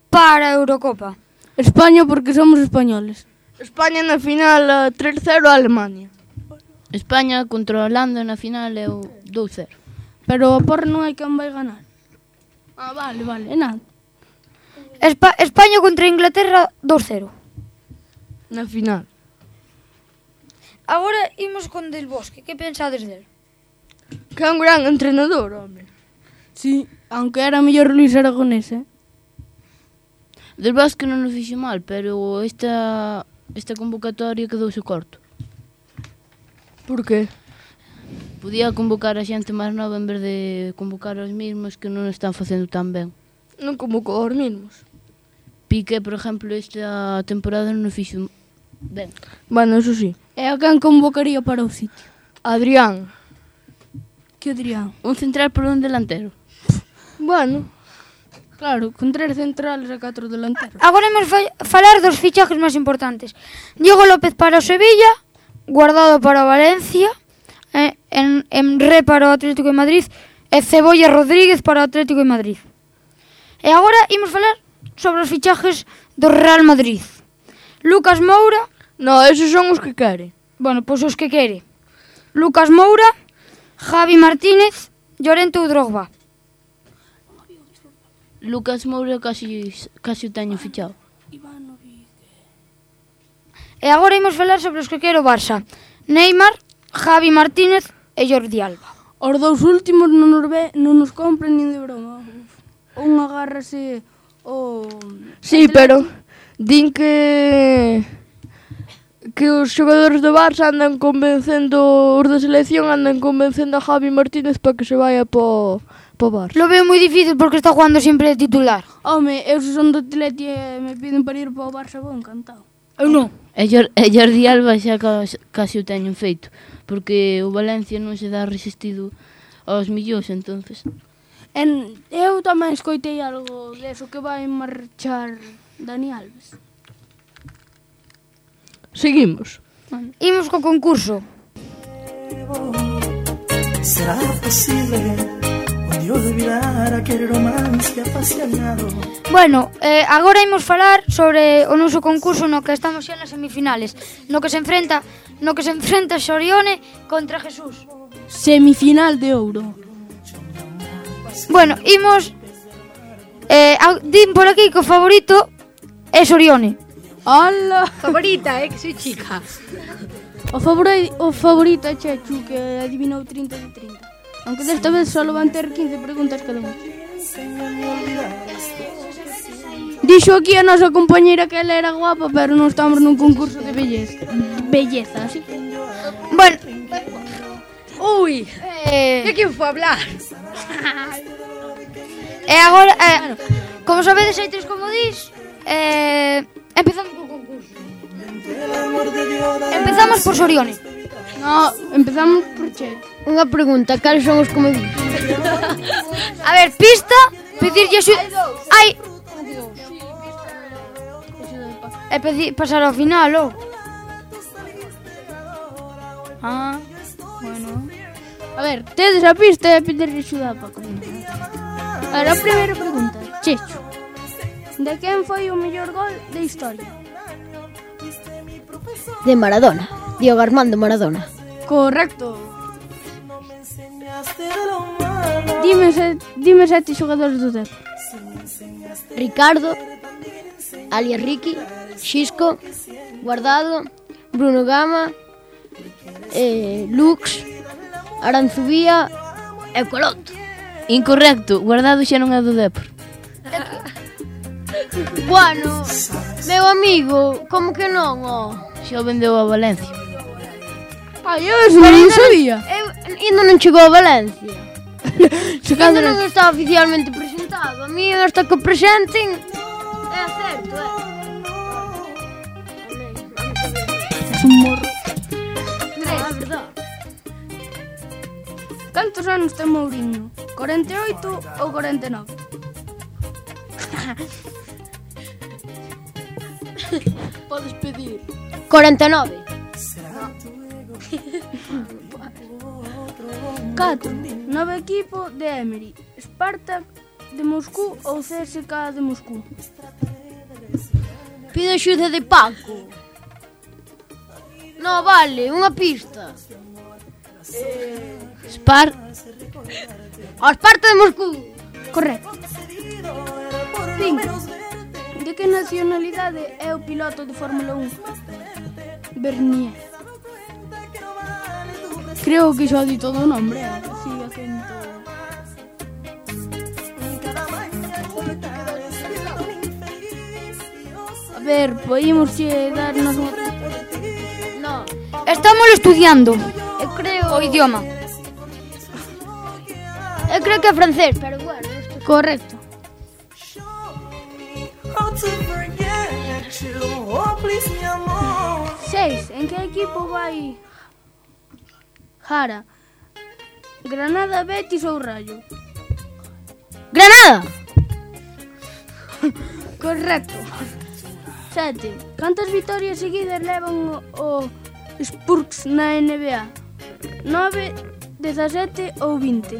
para a Eurocopa. España porque somos españoles. España na final 3-0 a Alemania. España contra a Holanda na final é o 2-0. Pero a porra non hai quen vai ganar. Vale, é nada. España contra Inglaterra 2-0. Na final. Agora imos con Del Bosque. Que pensades del? Que é un gran entrenador, home. Sí, aunque era mellor Luis Aragonés, Del Bosque non o fixo mal, pero esta convocatoria quedouse corto. Por qué? Podía convocar a xente máis nova en vez de convocar aos mesmos que non están facendo tan ben. Non convocou aos mesmos. Piqué, por exemplo, esta temporada non o fixo ben. Bueno, eso sí. E a quen convocaría para o sitio? Adrián. Que Adrián? Un central por un delantero. Bueno, claro, con 3 centrales e 4 delanteros. Agora imos falar dos fichajes máis importantes. Diego López para o Sevilla, Guardado para o Valencia, Emre para o Atlético de Madrid e Cebolla Rodríguez para o Atlético de Madrid. E agora imos falar sobre os fichajes do Real Madrid. Lucas Moura... No, esos son os que quere. Bueno, pois os que quere. Lucas Moura, Javi Martínez, Llorente ou Drogba. Lucas Moura casi o teño fichado. E agora imos falar sobre os que quere o Barça. Neymar, Javi Martínez e Jordi Alba. Os dous últimos non nos compren nin de broma. Un agárrase o... Sí, pero din que os xogadores do Barça andan convencendo, os da selección andan convencendo a Javi Martínez para que se vaya po Barça. Lo veo moi difícil porque está jugando sempre de titular. Home, eu se son do Atleti e me piden para ir po Barça, vou encantado. Eu non. E Jordi Alba xa casi o teñen feito, porque o Valencia non se dá resistido aos millóns, entonces. Eu tamén escoitei algo deso que vai marchar Dani Alves. Seguimos. Imos co concurso. ¿Será posible un día olvidar aquel romance apasionado? Bueno, agora imos falar sobre o noso concurso no que estamos xa nas semifinales, no que se enfrenta Xorione contra Jesús. Semifinal de ouro. Bueno, imos din por aquí que o favorito é Xorione. ¡Hala! Favorita, que soy chica. O favorito é Chechu, que adivinou 30 de 30. Aunque desta vez só van ter 15 preguntas cada un. Dixo aquí a nosa compañeira que ela era guapa, pero non estamos nun concurso de belleza, así. Bueno. Uy, ¿de quién fue a hablar? E agora, como sabedes, hai 3 comodís. Empezamos co concurso. Empezamos por Xorione. No, empezamos por Che. Unha pregunta, cales son os comodís? A ver, pista, pedirlle axuda. Hai e pasar ao final, ou? Bueno. A ver, tedes a pista e pedirlle axuda para comenzar. A ver, a primeira pregunta, Checho. De quen foi o mellor gol da historia? De Maradona, Diego Armando Maradona. Correcto. Dime 7 xogadores do Dep. Ricardo, alias Ricky, Xisco, Guardado, Bruno Gama, Lux, Aranzubía e Coloto. Incorrecto, Guardado xa non é do Depor. Bueno, meu amigo, como que non, Xa o vendeu a Valencia. Ai, eu eso non sabía. Ainda non chegou a Valencia. Ainda non está oficialmente presentado. A mí hasta que o presenten é certo, Es un morro. É verdade. Cantos anos ten Mourinho? 48 ou 49? Podes pedir. 49. 4. Novo equipo de Emery. Spartak de Moscú ou CSKA de Moscú? Pido axuda de Paco. No, vale, unha pista. Esparta de Moscú. Correcto. 5. De que nacionalidade é o piloto de Fórmula 1? Bernier. Creo que xa di todo o nombre. Así, acento. ver, podíamos darnos unha... No. Estamos estudiando Eu creo... o idioma. Eu creo que é francés, pero bueno. Correcto. Seis. En que equipo vai Jara? Granada, Betis ou Rayo? Granada! Correcto. 7. Cantas vitorias seguidas levan o Spurs na NBA? 9, 17 ou 20?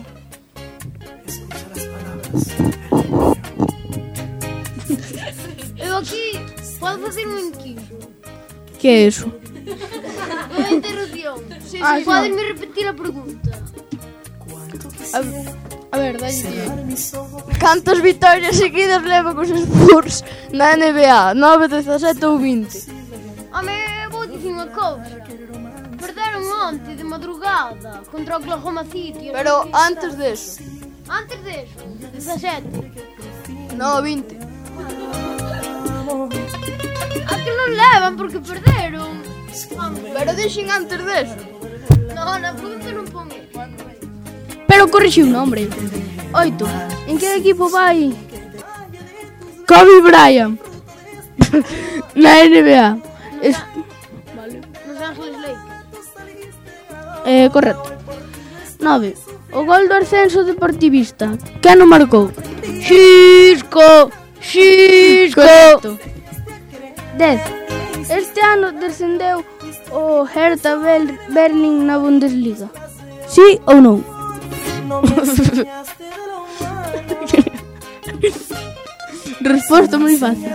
Eu aquí podo facer un inquiso. Que é eso? Unha interrupción. Sí, sí. Podes-me repetir a pregunta? A ver, dalle. Cantas vitorias seguidas levan os Spurs na NBA? 9, 17 ou 20? Home, vou dicir unha cousa. Perderon onte de madrugada contra o Oklahoma City. Pero antes deso. Antes deso, 17. No, 20. A que non levan porque perderon. Pero dixen antes deso. No, na pregunta non pon eso. Pero corrixe un nombre. 8. En que equipo vai Kobe Bryant na NBA? Los Ángeles Lakers. Correcto. 9. O gol do ascenso deportivista. Quen o marcou? Xisco. Correcto. 10. Este ano descendeu o Hertha Berlin na Bundesliga. Sí ou non? Resposta moi fácil.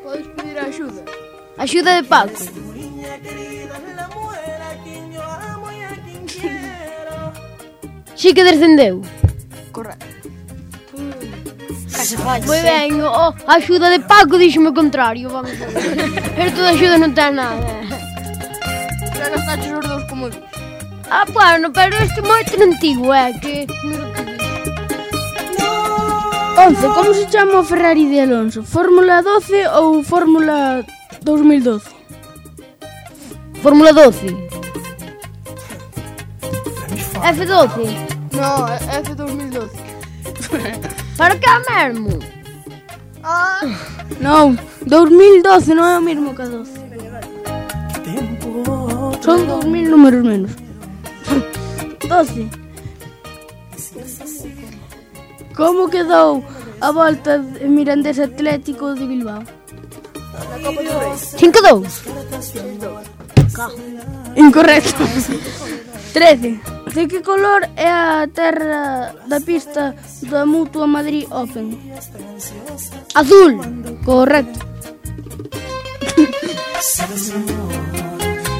Podes pedir axuda. Axuda de Paco. Sí que descendeu. Correcto. Moi ben, a axuda de Paco díxome o contrario, vamos a ver. Esto de axuda non ten nada. Xa gastaches os dous como dix. Bueno, pero este é moito antigo, que... 11. Como se chama o Ferrari de Alonso? Fórmula 12 ou Fórmula 2012? Fórmula 12. F12. No, F2012. Para que mesmo? Non, 2012 non é o mesmo que a 12. Son 2000 números menos. 12. Como quedou a volta de Mirandés Atlético de Bilbao? 5-2. Incorrecto. 13. De que color é a terra da pista da Mutua Madrid Open? Azul. Correcto.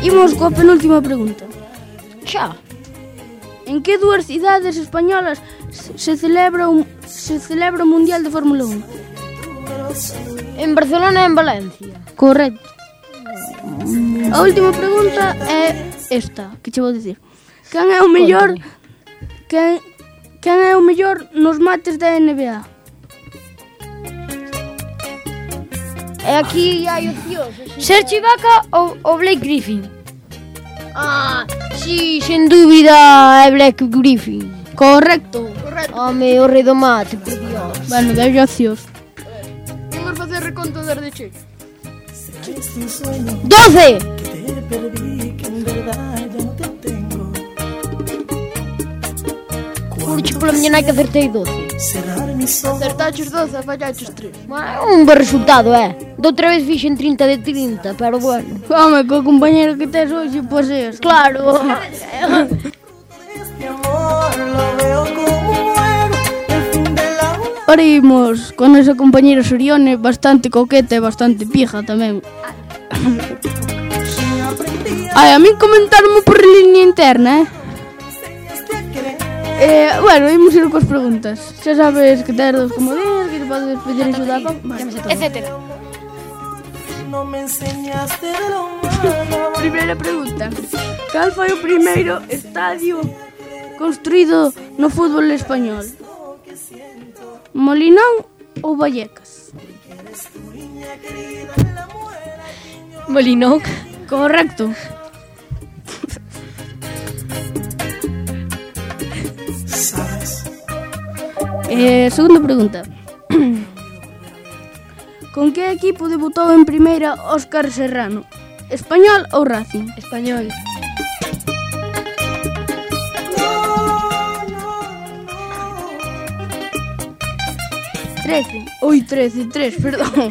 Imos coa penúltima pregunta. Xa. En que dúas cidades españolas se celebra o Mundial de Fórmula 1? En Barcelona e en Valencia. Correcto. A última pregunta é esta, que che vou dicir. Quen é o mellor? Quen é o mellor nos mates da NBA? E aquí hai opcións. Serge Ibaka ou Blake Griffin? Sí, sen dúbida é Blake Griffin. Correcto. Home, o rei do mate, por Dios. Bueno, dai opcións. Vamos facer reconto desde che. 12. Curche pola miña nai que acertei 12. Acertaches 12, fallaches 3. Un bo resultado, Da outra vez fixen 30 de 30, pero bueno. Home, co compañero que tes hoxe, pois é. Claro. Ora imos con esa compañera Sorione, bastante coqueta e bastante pija tamén. A mí comentarme por línea interna, bueno, imos ir coas preguntas. Xa sabes que tes dos comodines, que te podes pedir axuda, etcétera. Primeira pregunta. Cal foi o primeiro estadio construído no fútbol español? Molinón ou Vallecas? Molinón. Correcto. Segunda pregunta. Con que equipo debutou en primeira Óscar Serrano? Español ou Racing? Español. Tres, perdón.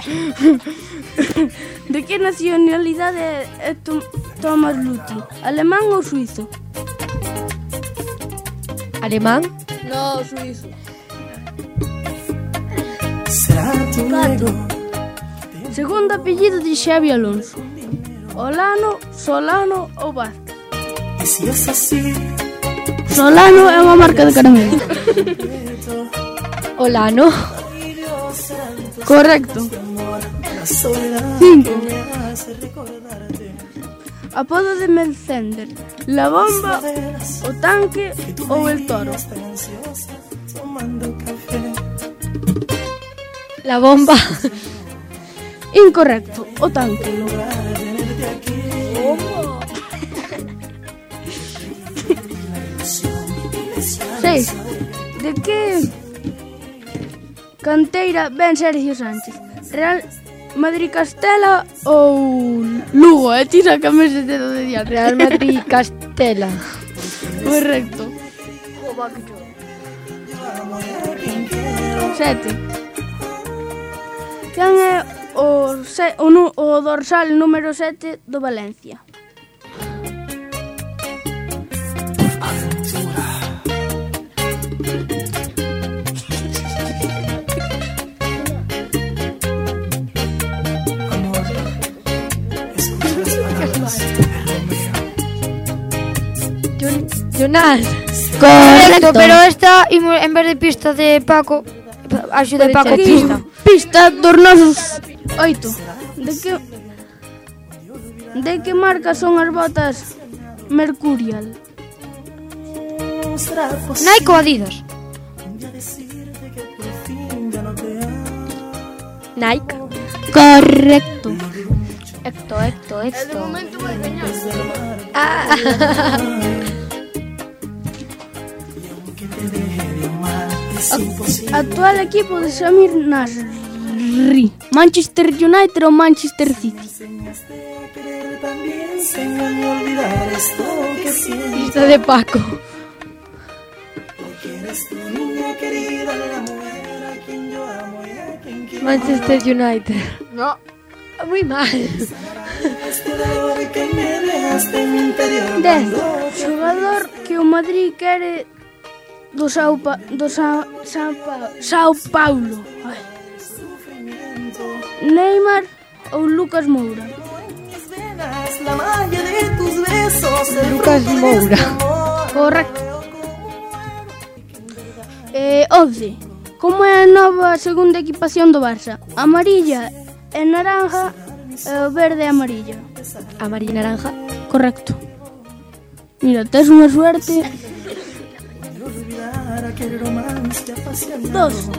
De que nacionalidade é Thomas Luthi? Alemán ou suizo? Alemán? No, suizo. 4. Segundo apellido de Xavi Alonso. Olano, Solano ou Vázquez? Y si es así, Solano é unha marca de caramelo. Olano. Correcto. 5. Apodo de Melcender. La bomba, o tanque ou el toro? La bomba. Incorrecto, o tanque. Seis. De que canteira ven Sergio Sánchez? Real Madrid Castela ou Lugo? Tira que me se dedo de día. Real Madrid Castela. Correcto. 7. Quen é o dorsal número 7 do Valencia? Jonás. Correcto, pero esta en vez de pista de Paco, axuda de Paco pista. Pista dos nosos 8. De que marca son as botas Mercurial? Nike ou Adidas? Nike. Correcto. Hecto. De momento vai gañar. Actual equipo de Samir Nasri. Manchester United ou Manchester City? Pista de Paco. Manchester United. No. Muy mal. 10. Xogador que o Madrid quere do Sao Paulo. Ay. Neymar ou Lucas Moura? Lucas Moura. Correcto. 11. Como é a nova segunda equipación do Barça? Amarilla e naranja, verde e amarilla. Amarilla e naranja. Correcto. Mira, tes unha suerte. 2.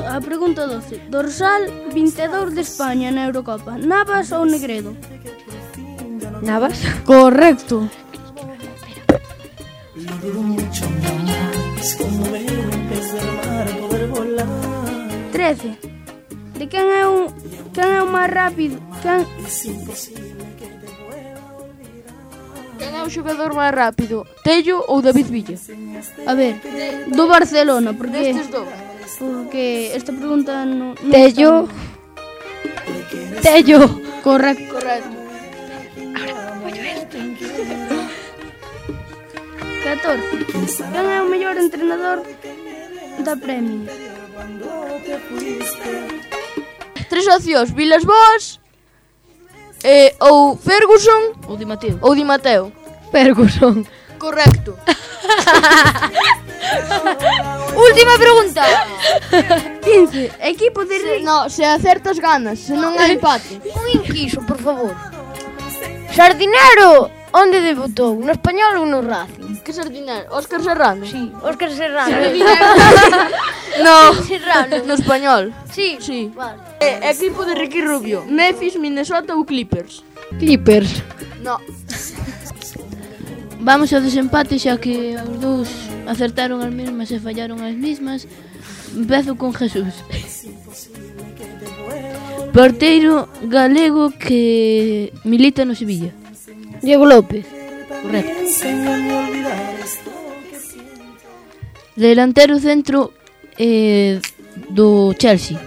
A pregunta 12. Dorsal 22 de España na Eurocopa. Navas ou Negredo? Navas. Correcto. 13. De quen é o máis rápido? Quen é o xogador máis rápido? Tello ou David Villa? A ver, do Barcelona, porque destes dous. Porque esta pregunta non Tello. Tello. Correcto. Ahora, voy a esto. 14. Quen é o mellor entrenador da Premier? 3 opcións, Vilas Boas, ou Ferguson ou Di Matteo. Ferguson. Correcto. Última pregunta. 15. Equipo de Rick. No, se acertas ganas, se non é empate. Un inquiso, por favor. Sardinero, onde debutou? No Español ou no Racing? Que sardinero? Óscar Serrano? Sí, Óscar Serrano. No, Serrano. no español. Sí. Sí. Vale. Equipo de Ricky Rubio. Memphis, Minnesota ou Clippers? Clippers. No. Vamos ao desempate xa que os dous acertaron as mesmas e fallaron as mesmas. Empezo con Jesús. Porteiro galego que milita no Sevilla. Diego López. Correcto. Delantero centro do Chelsea.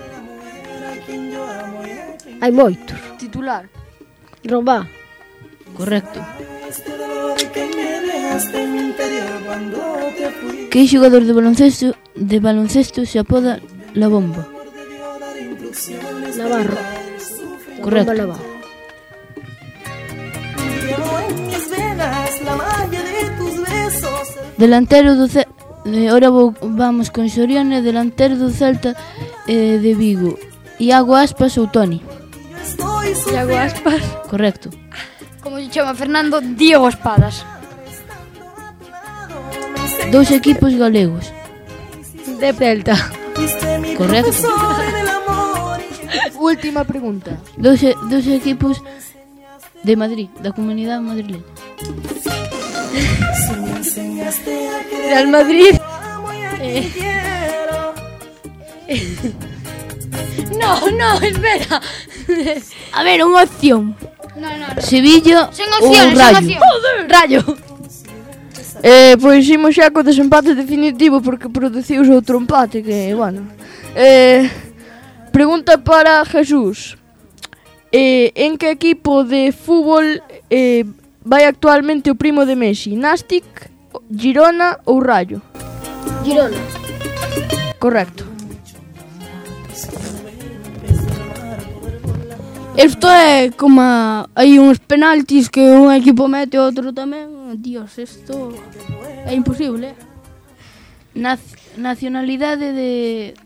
Hai moitos. Titular. Robá. Correcto. Que xogador de baloncesto se apoda La Bomba? Navarro. Correcto. La Bomba Navarro. Delantero do Celta. Ahora vamos con Soriano, delantero do Celta de Vigo. Iago Aspas ou Toni? Iago Aspas. Correcto. Como se chama Fernando? Diego Espadas. Dous equipos galegos. De Celta. Correcto. Última pregunta. Dos equipos de Madrid, da Comunidade Madrileña. Real Madrid. No, espera. A ver, unha opción. No. Sevilla Sen ou opciones, Rayo? sen opciones. Rayo. Pois imos xa co desempate definitivo porque produciuse outro empate que, bueno. Pregunta para Jesús. En que equipo de fútbol vai actualmente o primo de Messi? Nástic, Girona ou Rayo? Girona. Correcto. Isto é como hai uns penaltis que un equipo mete e outro tamén. Dios, isto é imposible. Nacionalidade de...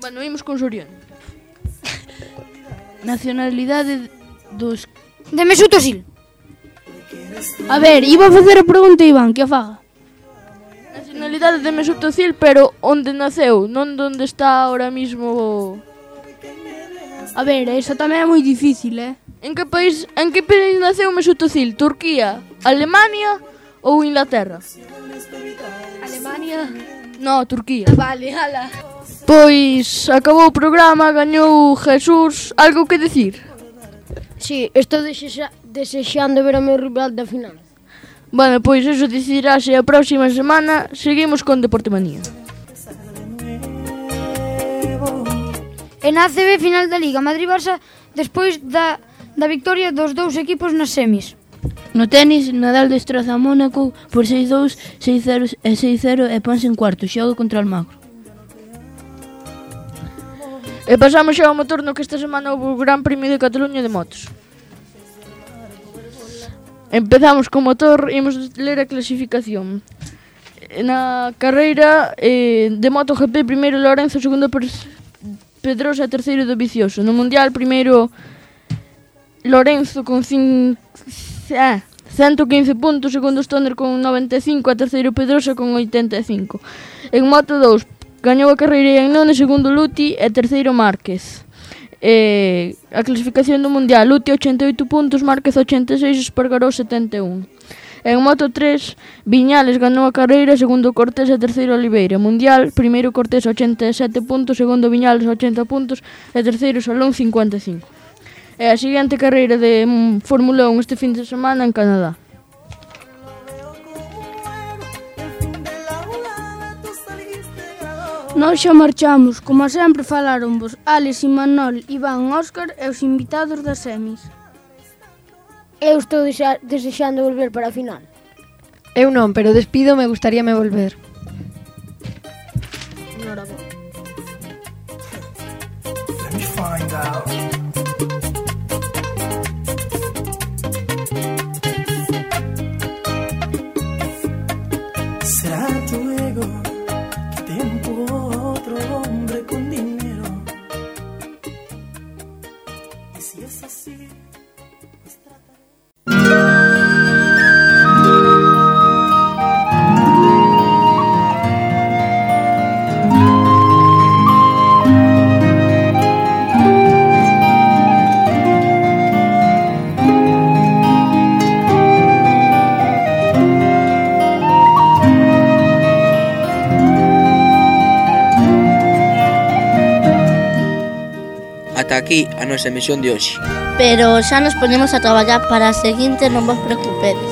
Bueno, imos con Soriano. Nacionalidade dos... De Mesut Özil. A ver, iba a facer a pregunta Iván, que a faga. Nacionalidade de Mesut Özil, pero onde naceu, non onde está ahora mismo. A ver, eso tamén é moi difícil, En que país naceu Mesut Özil? Turquía, Alemania ou Inglaterra? Alemania. No, Turquía. Vale, ala. Pois acabou o programa, gañou Jesús. Algo que decir? Sí, estou desexando ver o meu rival da final. Bueno, pois eso decidirase a próxima semana. Seguimos con Deporte Manía. En ACB final da Liga Madrid-Barça despois da victoria dos dous equipos nas semis. No tenis, Nadal destroza a Mónaco por 6-2, 6-0 e 6-0 e ponse en cuarto. Xoga contra o Almagro. E pasamos xa ao motor no que esta semana houve o Gran Premio de Cataluña de motos. Empezamos co motor, imos ler a clasificación. Na carreira de MotoGP, primeiro Lorenzo, segundo Pedrosa, terceiro Dovizioso. No Mundial, primeiro Lorenzo con 115 puntos, segundo Stoner con 95, a terceiro Pedrosa con 85. En Moto 2 gañou a carreira en none, segundo Luti e terceiro Márquez. A clasificación do Mundial, Luti 88 puntos, Márquez 86, Espargaró 71. En Moto 3, Viñales ganou a carreira, segundo Cortés e terceiro Oliveira. Mundial, primeiro Cortés 87 puntos, segundo Viñales 80 puntos e terceiro Salón 55. E a seguinte carreira de Fórmula 1 este fin de semana en Canadá. Nós xa marchamos, como sempre falaron vos Alex, Imanol, Iván, Óscar e os invitados das semis. Eu estou desexando volver para a final. Eu non, pero despido, me gustaríame volver. Enhorabuena. Let me find out. Será tu ego que te empujó a otro hombre con dinero. Y si es así, pues trata. ata aquí a nosa emisión de hoxe. Pero xa nos ponemos a traballar para a seguinte, non vos preocupedes.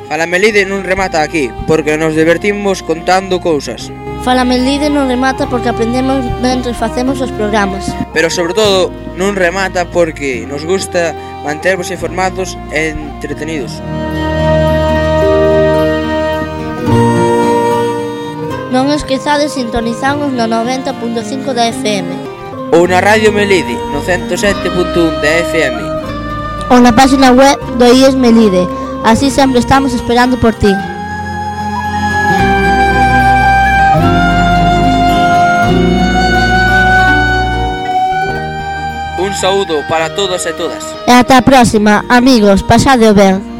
Fala Melide non remata aquí, porque nos divertimos contando cousas. Fala Melide non remata porque aprendemos mentre facemos os programas. Pero sobre todo non remata porque nos gusta mantervos informados e entretenidos. Non esquezades sintonizarnos no 90.5 da FM. Ou na Radio Melide, no 107.1 da FM. Ou na página web do IES Melide. Así sempre estamos esperando por ti. Un saúdo para todos e todas. E ata a próxima, amigos, pasadeo ben.